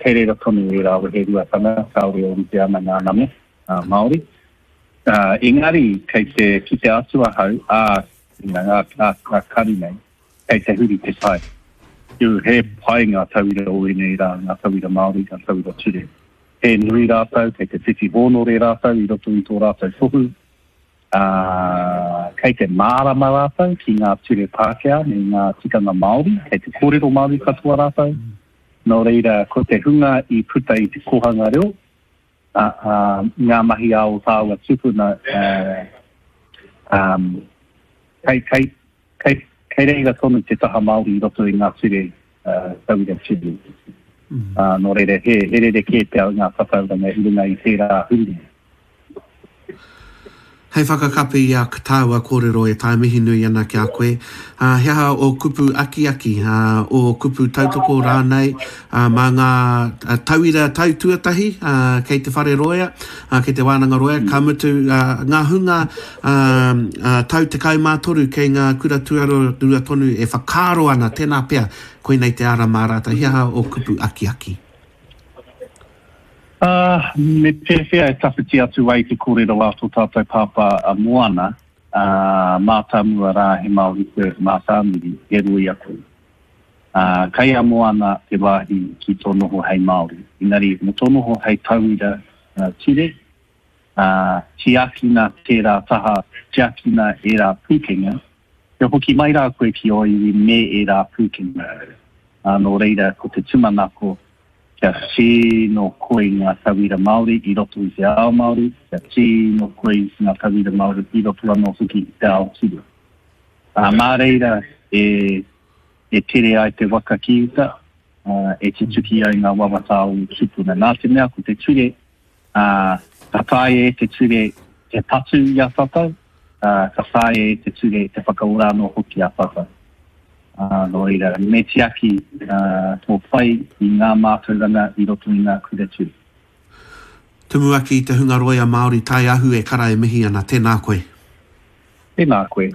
kei reira tonu ērā weheruatanga, kāore e rite ana ngā nama Māori. Engari kei te kite atu ahau, ā, ā karu nei, kei te huri te tai. He pai ngā tauira o ēnei rā, ngā tauira Māori, ngā tauira ture. He nui rātou, kei te whiwhi hōnore rātou i roto i tō rātou tohu, ā, kei te mārama rātou ki ngā ture Pākehā me ngā tikanga Māori, kei te kōrero Māori katoa rātou. Nō reira, ko te hunga i puta i te kōhanga reo, ā, ā, ngā mahi a ō tāua tūpuna, ā, kei, kei, kei, kei reira tonu te taha Māori i roto i ngā ture, ā, tauira ture. Ā, nō reira, he, he rerekē pea ngā tatauranga i runga i tērā huringa.
Hei whakakapi i a tāua kōrero e tae mihi nui ana ki a koe, ā, he aha ō kupu akiaki, ā, ō kupu tautoko rānei, ā, mā ngā tauira tau tuatahi, ā, kei te whare roea, ā, kei te wānanga roea, ka mutu, ā, ngā hunga, ā, ā, tau 13 kei ngā kura tuarua tonu e whakaaro ana, tēnā pea, koinei te ara mā rātou, he aha ō kupu akiaki?
Ā, me pēwhea e tawhiti atu ai te kōrero a tō tātou pāpā a Moana, ā, mātāmua rā he Māori koe, mātāmuri, he rōia koe. Ā, kei a Moana te wāhi ki tō noho hei Māori. Engari, mō tō noho hei tauira ture, ā, tiakina tērā taha, tiakina ērā pūkenga, kia hoki mai rā koe ki ō iwi me ērā pūkenga. Ā, nō reira, ko te tūmanako, kia tino koi ngā tauira Māori i roto i te ao Māori, kia tino koi ngā tauira Māori i roto anō hoki i te ao ture. Ā, mā reira e, e tere ai te waka ki uta, ā, e tutuki ai ngā wawata o ō tūpuna. Nā te mea ko te ture, ā, ka taea e te ture te patu i a tātou, ā, ka taea e te ture te whakaora anō hoki a tātou. Ā, nō reira, me tiaki, ā, tō whai i ngā mātauranga i roto i ngā kura ture.
Tumuaki i te hunga roia Māori tae ahu e kara e mihi ana, tēnā koe.
Tēnā koe.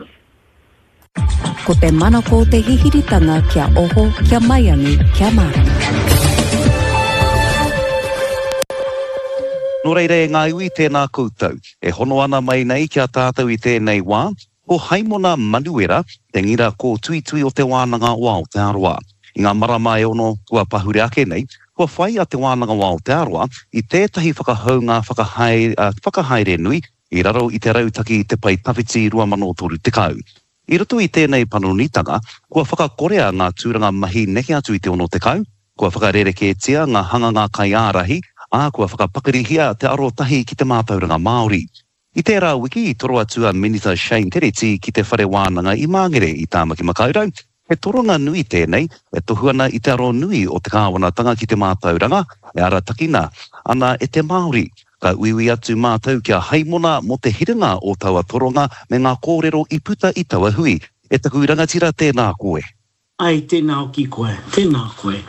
Ko te manako o te hihiritanga kia oho, kia maiangi, kia mārama.
Nō reira e ngā iwi, tēnā koutou. E hono ana mai nei ki a tātou i tēnei wā, ko Haimona Manuera, te ngira kōtuitui o Te Wānanga o Aotearoa. I ngā marama e ono kua pahure ake nei, kua whai a Te Wānanga o Aotearoa i tētahi whakahounga whakahaere nui i raro i te Rautaki Te Pae Tawhiti 2030. I roto i tēnei panonitanga, kua whakakorea ngā tūranga mahi neke atu i te 60, kua whakarerekētia ngā hanganga kaiārahi, ā, kua whakapakarihia te arotahi ki te mātauranga Māori. I tērā wiki i toro atu a Minita Shane Tereti ki te Whare Wānanga i Māngere i Tāmaki Makaurau, He toronga nui tēnei e tohu ana i te aro nui o te kāwanatanga ki te mātauranga e aratakina ana e te Māori. Ka uiui atu mātou ki a Haimona mō te hiranga o taua toronga me ngā kōrero i puta i taua hui. E taku rangatira tēnā koe.
Ai, tēnā hoki koe, tēnā koe.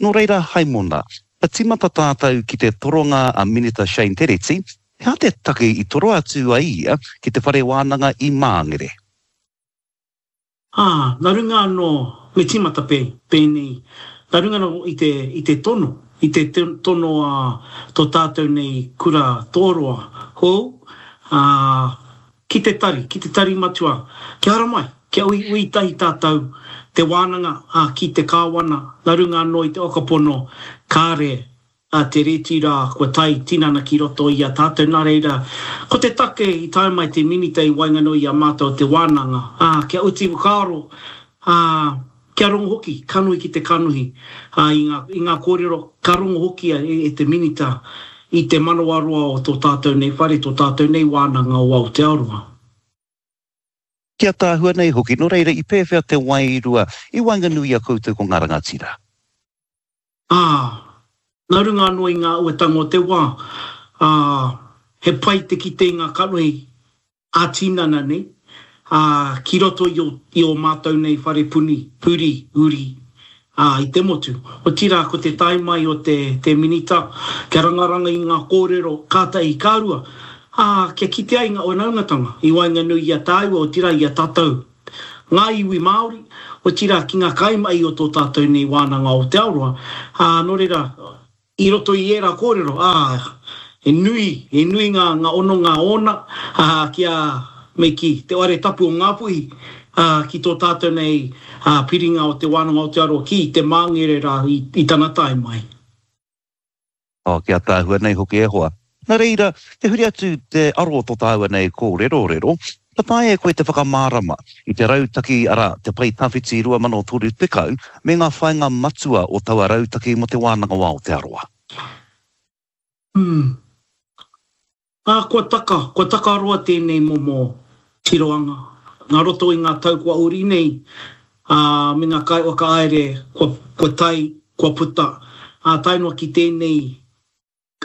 Nō reira Haimona, ka tīmata tātou ki te toronga a Minita Shane Tereti, he aha te take i toro atu ai ia ki te whare wānanga i Māngere?
Ā, nā runga anō, me tīmata pē, pēnei, nā runga anō i te, i te tono, i te tono a tō tātou nei kura tōroa hou, ā, ki te tari, ki te tari matua, kia haramai, kia uiui tahi tātou, te wānanga, ā, ki te kāwana, nā runga anō i te whakapono, kāre a te reti rā kua tae tinana ki roto i a tātou, nā reira, ko te take i tae mai te Minita i waenganui i a mātou o te wānanga, ā, kia uti whakaaro, ā, kia rongo hoki, kanohi ki te kanohi, ā, i ngā, i ngā kōrero ka rongo hoki e, e te Minita i te manawaroa o tō tātou nei whare, tō tātou nei wānanga o Aotearoa.
Ki ataahua nei hoki, nō reira i pēwhea te wairua i waenganui i a koutou ko ngā rangatira?
Ā, nā runga anō i ngā uatanga o te wā, ā, he pai te kite i ngā kanohi ā-tinana nei, ā, ki roto i ō, i ō mātou nei whare puni, huri, uri, ā, i te motu. Otirā, ko te tae mai o te, te Minita kia rangaranga i ngā kōrero ka tahi, ka rua, ā, kia kite ai ngā whanaungatanga i waenganui i a tāua, otirā i a tātou, ngā iwi Māori, otirā ki ngā kaimahi o tō tātou nei wānanga o Aotearoa, ā, nō reira, I roto i ērā kōrero, ā, he nui, he nui ngā, ngā hononga ōna, ā, ki a, me kī, te whare tapu o Ngāpuhi, ā, ki tō tātou nei, ā, piringa o Te Wānanga o Aotearoa ki te Māngere rā i, i tana tae mai.
Oh, ki ātaahua nei hoki e hoa. Nā reira, te huri atu te aro o tō tāua nei kōrerorero, ka taea e koe te whakamārama i te rautaki, arā, Te Pae Tawhiti 2030, me ngā whāinga matua o taua rautaki mō Te Wānanga o Aotearoa.
Umm. Ā, kua taka, kua taka roa tēnei momo tiroanga. Nā roto i ngā tau kua ori nei, ā, me ngā kaiwhakahaere kua, kua tae, kua puta, ā, tae noa ki tēnei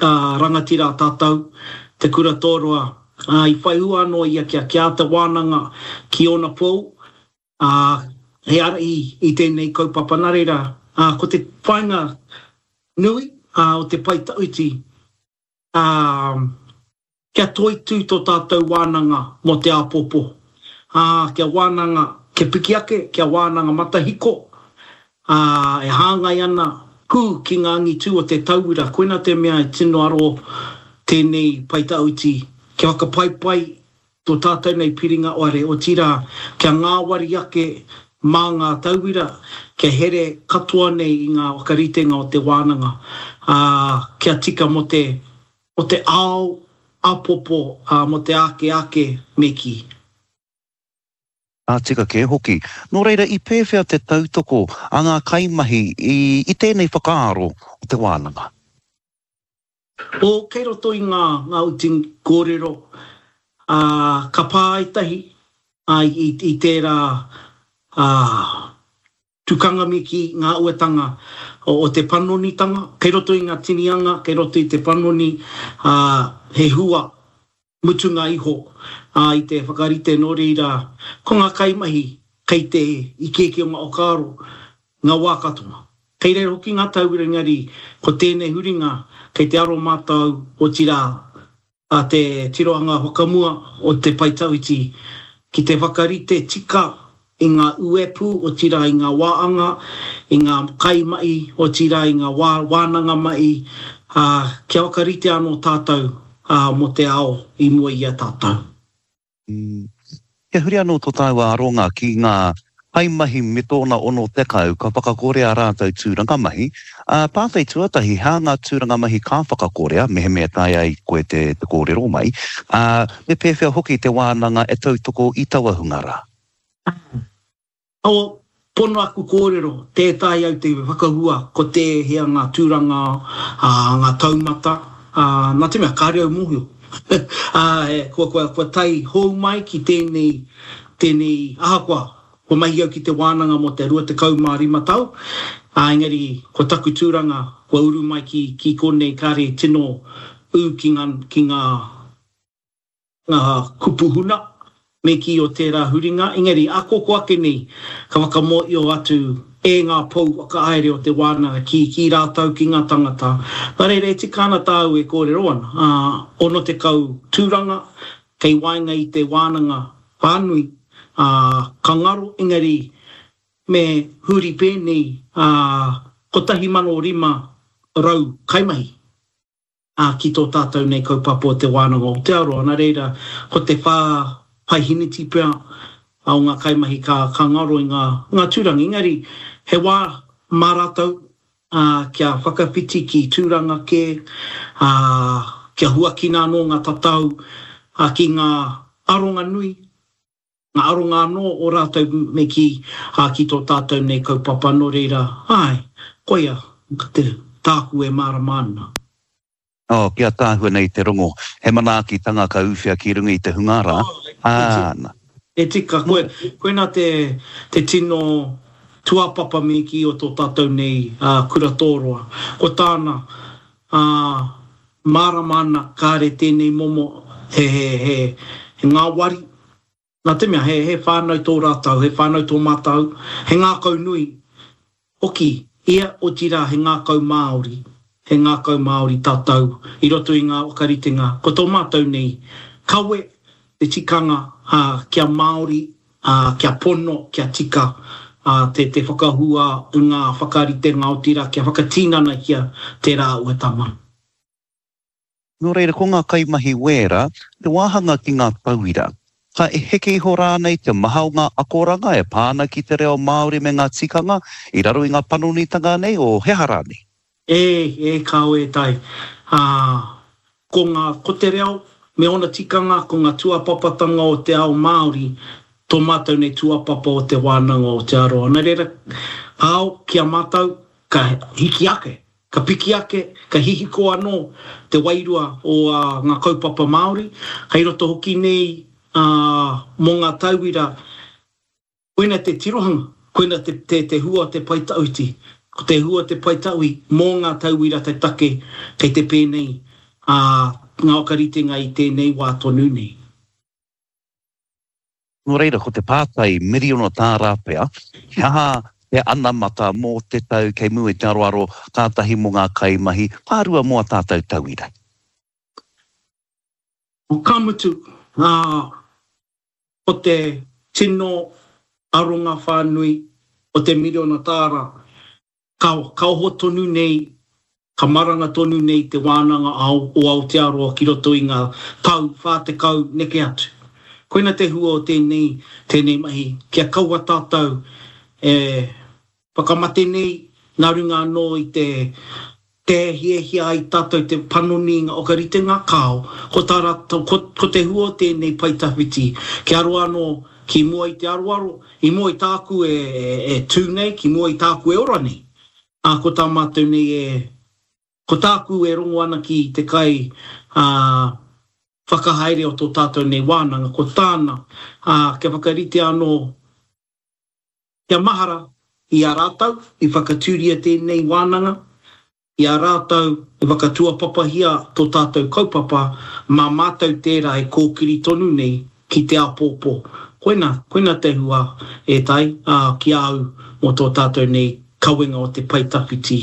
Ka rangatira a tātou, Te Kura Tōroa, ā, i whai hua anō ia kia kia āta wānanga ki ōna pou, ā, he ārahi i tēnei kaupapa. Nā reira, ā, ko te whāinga nui, ā, o te pae tawhiti, ā, Kia toitū tō tātou wānanga mō te āpōpō, ā, kia wānanga, kia piki ake, kia wānanga matahiko, ā, e hāngai ana pū ki ngā angitū o te tauira, koina te mea e tino aro tēnei pae tawhiti, kia whakapaipai tō tātou nei piringa ware, otirā, kia ngāwari ake mā ngā tauira, kia here katoa nei i ngā whakaritenga o te wānanga, ā, kia tika mō te O te ao apopo, a, mo te ake ake, me ki.
Ka tika kē hoki. Nō reira, i pēwhea te tautoko a ngā kaimahi i, i tēnei whakaaro o te wānanga?
O, kei roto i ngā, ngā uti kōrero, ā, ka pā ētahi, ā, i, i tērā, ā, Tukanga me kī, ngā uatanga o te panonitanga, kei roto i ngā tini anga, kei roto i te panoni, ā, he hua mutunga iho, ā, i te whakarite nō reira, ko ngā kaimahi kei te ikeike o ngā whakaaro ngā wā katoa. Kei reira hoki ngā tauira engari ko tēnei huringa kei te aro mātou, otirā, a te tirohanga whakamua o te pae tawhiti ki te whakarite tika i ngā uepū, otirā i ngā wāanga, i ngā kaimahi, otirā i ngā wā wānanga mahi, ā, kia whakarite anō tātou, ā, mō te ao i mua i a tātou.
Kia huri anō tō tāua aronga ki ngā kaimahi me tōna 60 ka whakakorea rātou tūranga mahi, ā, pātai tuatahi, he aha ngā tūranga mahi ka whakakorea, mehemea taea ai koe te kōrero mai, ā, me pēwhea hoki te wānanga e tautoko i taua hunga rā?
O, pono aku kōrero, tē taea au te whakahua ko tēhea ngā tūranga, ā, ngā taumata, ā, nā te mea kāre au mōhio. Ā, kua, kua, kua tae hou mai ki tēnei, tēnei, ahakoa, kua mahi au ki te wānanga mō te 25 tau, ā, engari ko taku tūranga kua uru mai ki, ki konei kāre tino ū ki ngā, ki ngā, ngā kupu huna me kī o tērā huringa, engari akoko ake nei ka whakamōio atu e ngā pou whakahaere o te wānanga ki ki rātou ki ngā tangata. Nā reira e tika ana tāu e kōrero ana, ā, 60 tūranga kei waenga i te wānanga whānui, ā, ka ngaro, engari me huri pēnei, ā, 1,500 kaimahi. ā, ki tō tātou nei kaupapa o Te Wānanga o Aotearoa. Nā reira, ko te paehiniti pea o ngā kaimahi ka, ka ngaro i ngā, ngā tūranga. Engari, he wā mā rātou, ā, kia whakawhiti ki tūranga kē, ā, kia huakina anō ngā tatau, ā, ki ngā aronga nui, Ngā aronga anō o rātou me kī, ā, ki tō tātou nei kaupapa, nō reira, āe, koia te, tāku e mārama ana.
Oh, ki ataahua nei te rongo, he manaakitanga ka uwhia ki runga i te hunga rā, āna.
E tika, koe, koina te, te tino tuapapa me kī o tō tātou nei, ā, kura tōroa. Ko tāna, ā, mārama ana kāre tēnei momo he, he, he, he ngāwari, nā te mea he, he whānau tō rātou, he whānau tō mātou, he ngākau nui hoki ia, otirā he ngākau Māori, he ngākau Māori tātou i roto i ngā whakaritenga, ko tō mātou nei kawe te tikanga, ā, kia Māori ā, kia pono, kia tika, ā, te, te whakahua i ngā whakaritenga, otirā kia whakatinanahia tērā āhuatanga.
Nō reira, ko ngā kaimahi wēra, te wāhanga ki ngā tauira. Ka heke iho rānei te maha o ngā akoranga e pā ana ki te reo Māori me ngā tikanga i raro i ngā panonitanga nei, o he aha rānei?
E, e kāo e tai. Ā, ko ngā, ko te reo me ōna tikanga, ko ngā tuapapatanga o te ao Māori, tō mātou nei tuapapa o Te Wānanga o Aotearoa. Nā reira, kāo, ki a mātou, ka hiki ake, ka piki ake, ka hihiko anō te wairua o ngā kaupapa Māori, kei roto hoki nei, ā, mō ngā tauira, Koina te tirohanga, koina te, te, te hua o te pae tawhiti. Ko te hua o te pae tawhi mō ngā tauira te take kei te pēnei, ā, ngā whakaritenga i tēnei wā tonu nei.
Nō reira, ko te pātai miriona tāra pea, he aha te anamata mō te tau kei mua i te aroaro, kātahi mō ngā kaimahi, ka rua mō ā tātou tauira?
Ka mutu, ā, Ko te tino aronga whānui o te miriona tāra, ka, ka oho tonu nei, ka maranga tonu nei te wānanga ao o Aotearoa ki roto i ngā tau 40 neke atu. Koina te hua o tēnei, tēnei mahi, kia kaua tātou e Whakamate nei, nā runga anō i te te hiahia ai tātou te panoni i ngā whakaritenga, kāo, ko tā rātou, ko, ko te hua o tēnei pae tawhiti, kia roa anō ki mua i te aroaro, i mua i tāku e, e, e tū nei, ki mua i tāku e ora nei. Ā, ko tā mātou nei e, ko tāku e rongo ana ki te kai, ā, whakahaere o tō tātou nei wānanga, ko tāna, ā, kia whakaritea anō Kia mahara, i a rātou i whakatūria tēnei wānanga, i a rātou i whakatuapapahia tō tātou kaupapa, mā mātou tērā e kōkiri tonu nei ki te āpōpō. Koina, koina te hua e Tai, ā, ki a au mō tō tātou nei kawenga o te pae tawhiti.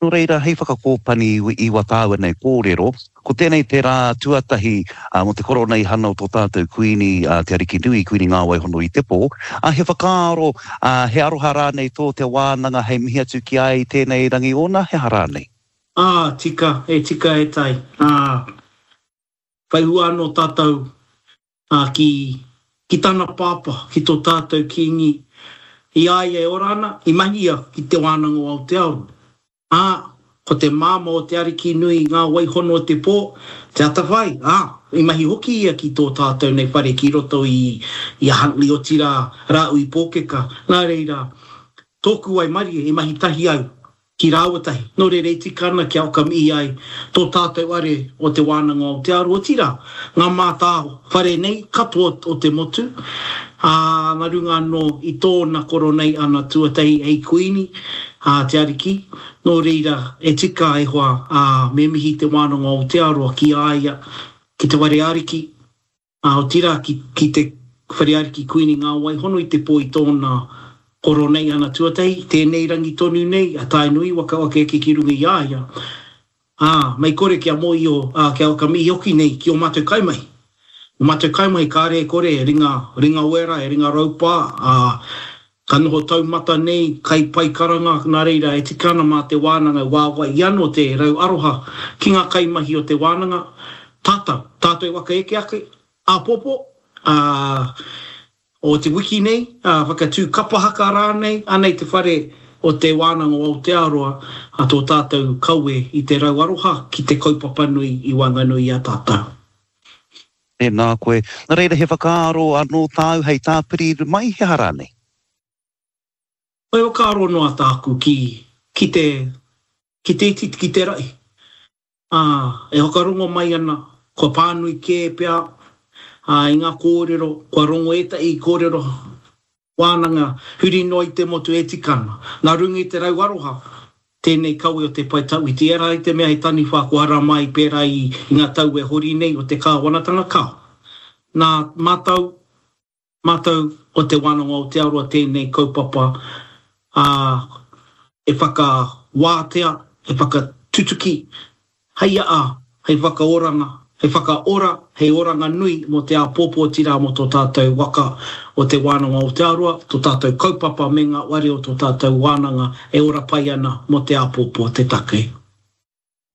Nō reira, hei whakakōpani i wā tāua nei kōrero, ko tēnei te rā tuatahi mō te koroneihana o tō tātou Kuini, Te Arikinui, Kuini Ngāwaihono i te pō. He whakaaro, he aroha rānei tō te wānanga hei mihi atu ki a ia i tēnei rangi ōna, he aha rānei?
Ā, tika, e tika e Tai. Ā, whai hua anō tātou ā, ki, ki tana pāpā, ki tō tātou Kīngi, i a ia e ora ana, i mahi ia ki Te Wānanga o Aotearoa. Ā, ko te māmā o te Ariki nui i ngā waihono o te pō, te atawhai, ā, i mahi hoki ia ki tō tātou nei whare ki roto i, i a Huntly, otirā, Rāhui Pōkeka. Nā reira, tōku waimarie, i mahi tahi au ki rāua tahi. Nō reira e tika ana kia whakamihi ai tō tātou are o Te Wānanga o Aotearoa, otirā, ngā mātā whare nei katoa o te motu, ā, nā runga anō i tōna koroneihana tuatahi hei Kuini, ā, Te Ariki. Nō reira, e tika e hoa, ā, me mihi Te Wānanga o Aotearoa ki a ia, ki te whare ariki, Ā, otirā ki, ki te Whare Ariki Kuini Ngā Wai Hono i te pō i tōna koroneihana tuatahi, tēnei rangi tonu nei, a Tainui waka waka eke ki runga i a ia, ā, mei kore kia mōhio, ā, kia whakamihi hoki nei ki ō mātou kaimahi. Ō mātou kaimahi kāre e kore e ringa, ringa wera, e ringa raupā, ā, ka noho taumata nei, kai pai karanga, nā reira e tika ana mā te wānanga e wāwai anō te rau aroha ki ngā kaimahi o te wānanga, tātou, tātou e waka eke ake, āpōpō, ā, o te wiki nei, ā, whakatū kapa haka rānei, anei te whare o Te Wānanga o Aotearoa, ā, tō tātou kawe i te rau aroha ki te kaupapa nui i waenganui i a tātou.
Tēnā koe. Nā reira, he whakaaro anō tāu hei tāpiri mai, he aha rānei?
He whakaaro noa tāku ki, ki te, ki te iti, ki te rahi. Ā, e whakarongo mai ana, kua pānui kē pea, ā, i ngā kōrero, kua rongo ētahi kōrero wānanga huri noa i te motu e tika ana. Nā runga i te rau aroha. Tēnei kawe o te pae tawhiti, ehara i te mea he taniwha kua ara mai pērā i ngā tau e hori nei o te kāwanatanga, kāo. Nā mātou, mātou o Te Wānanga o Aotearoa tēnei kaupapa, ā, e whakawātea, e whakatutuki Hei aha, hei whakaoranga, hei whakaora, hei oranga nui mō te āpōpō otirā mō tō tātou waka o Te Wānanga o Aotearoa, tō tātou kaupapa me ngā ware o tō tātou wānanga e ora pai ana mō te āpōpō te take.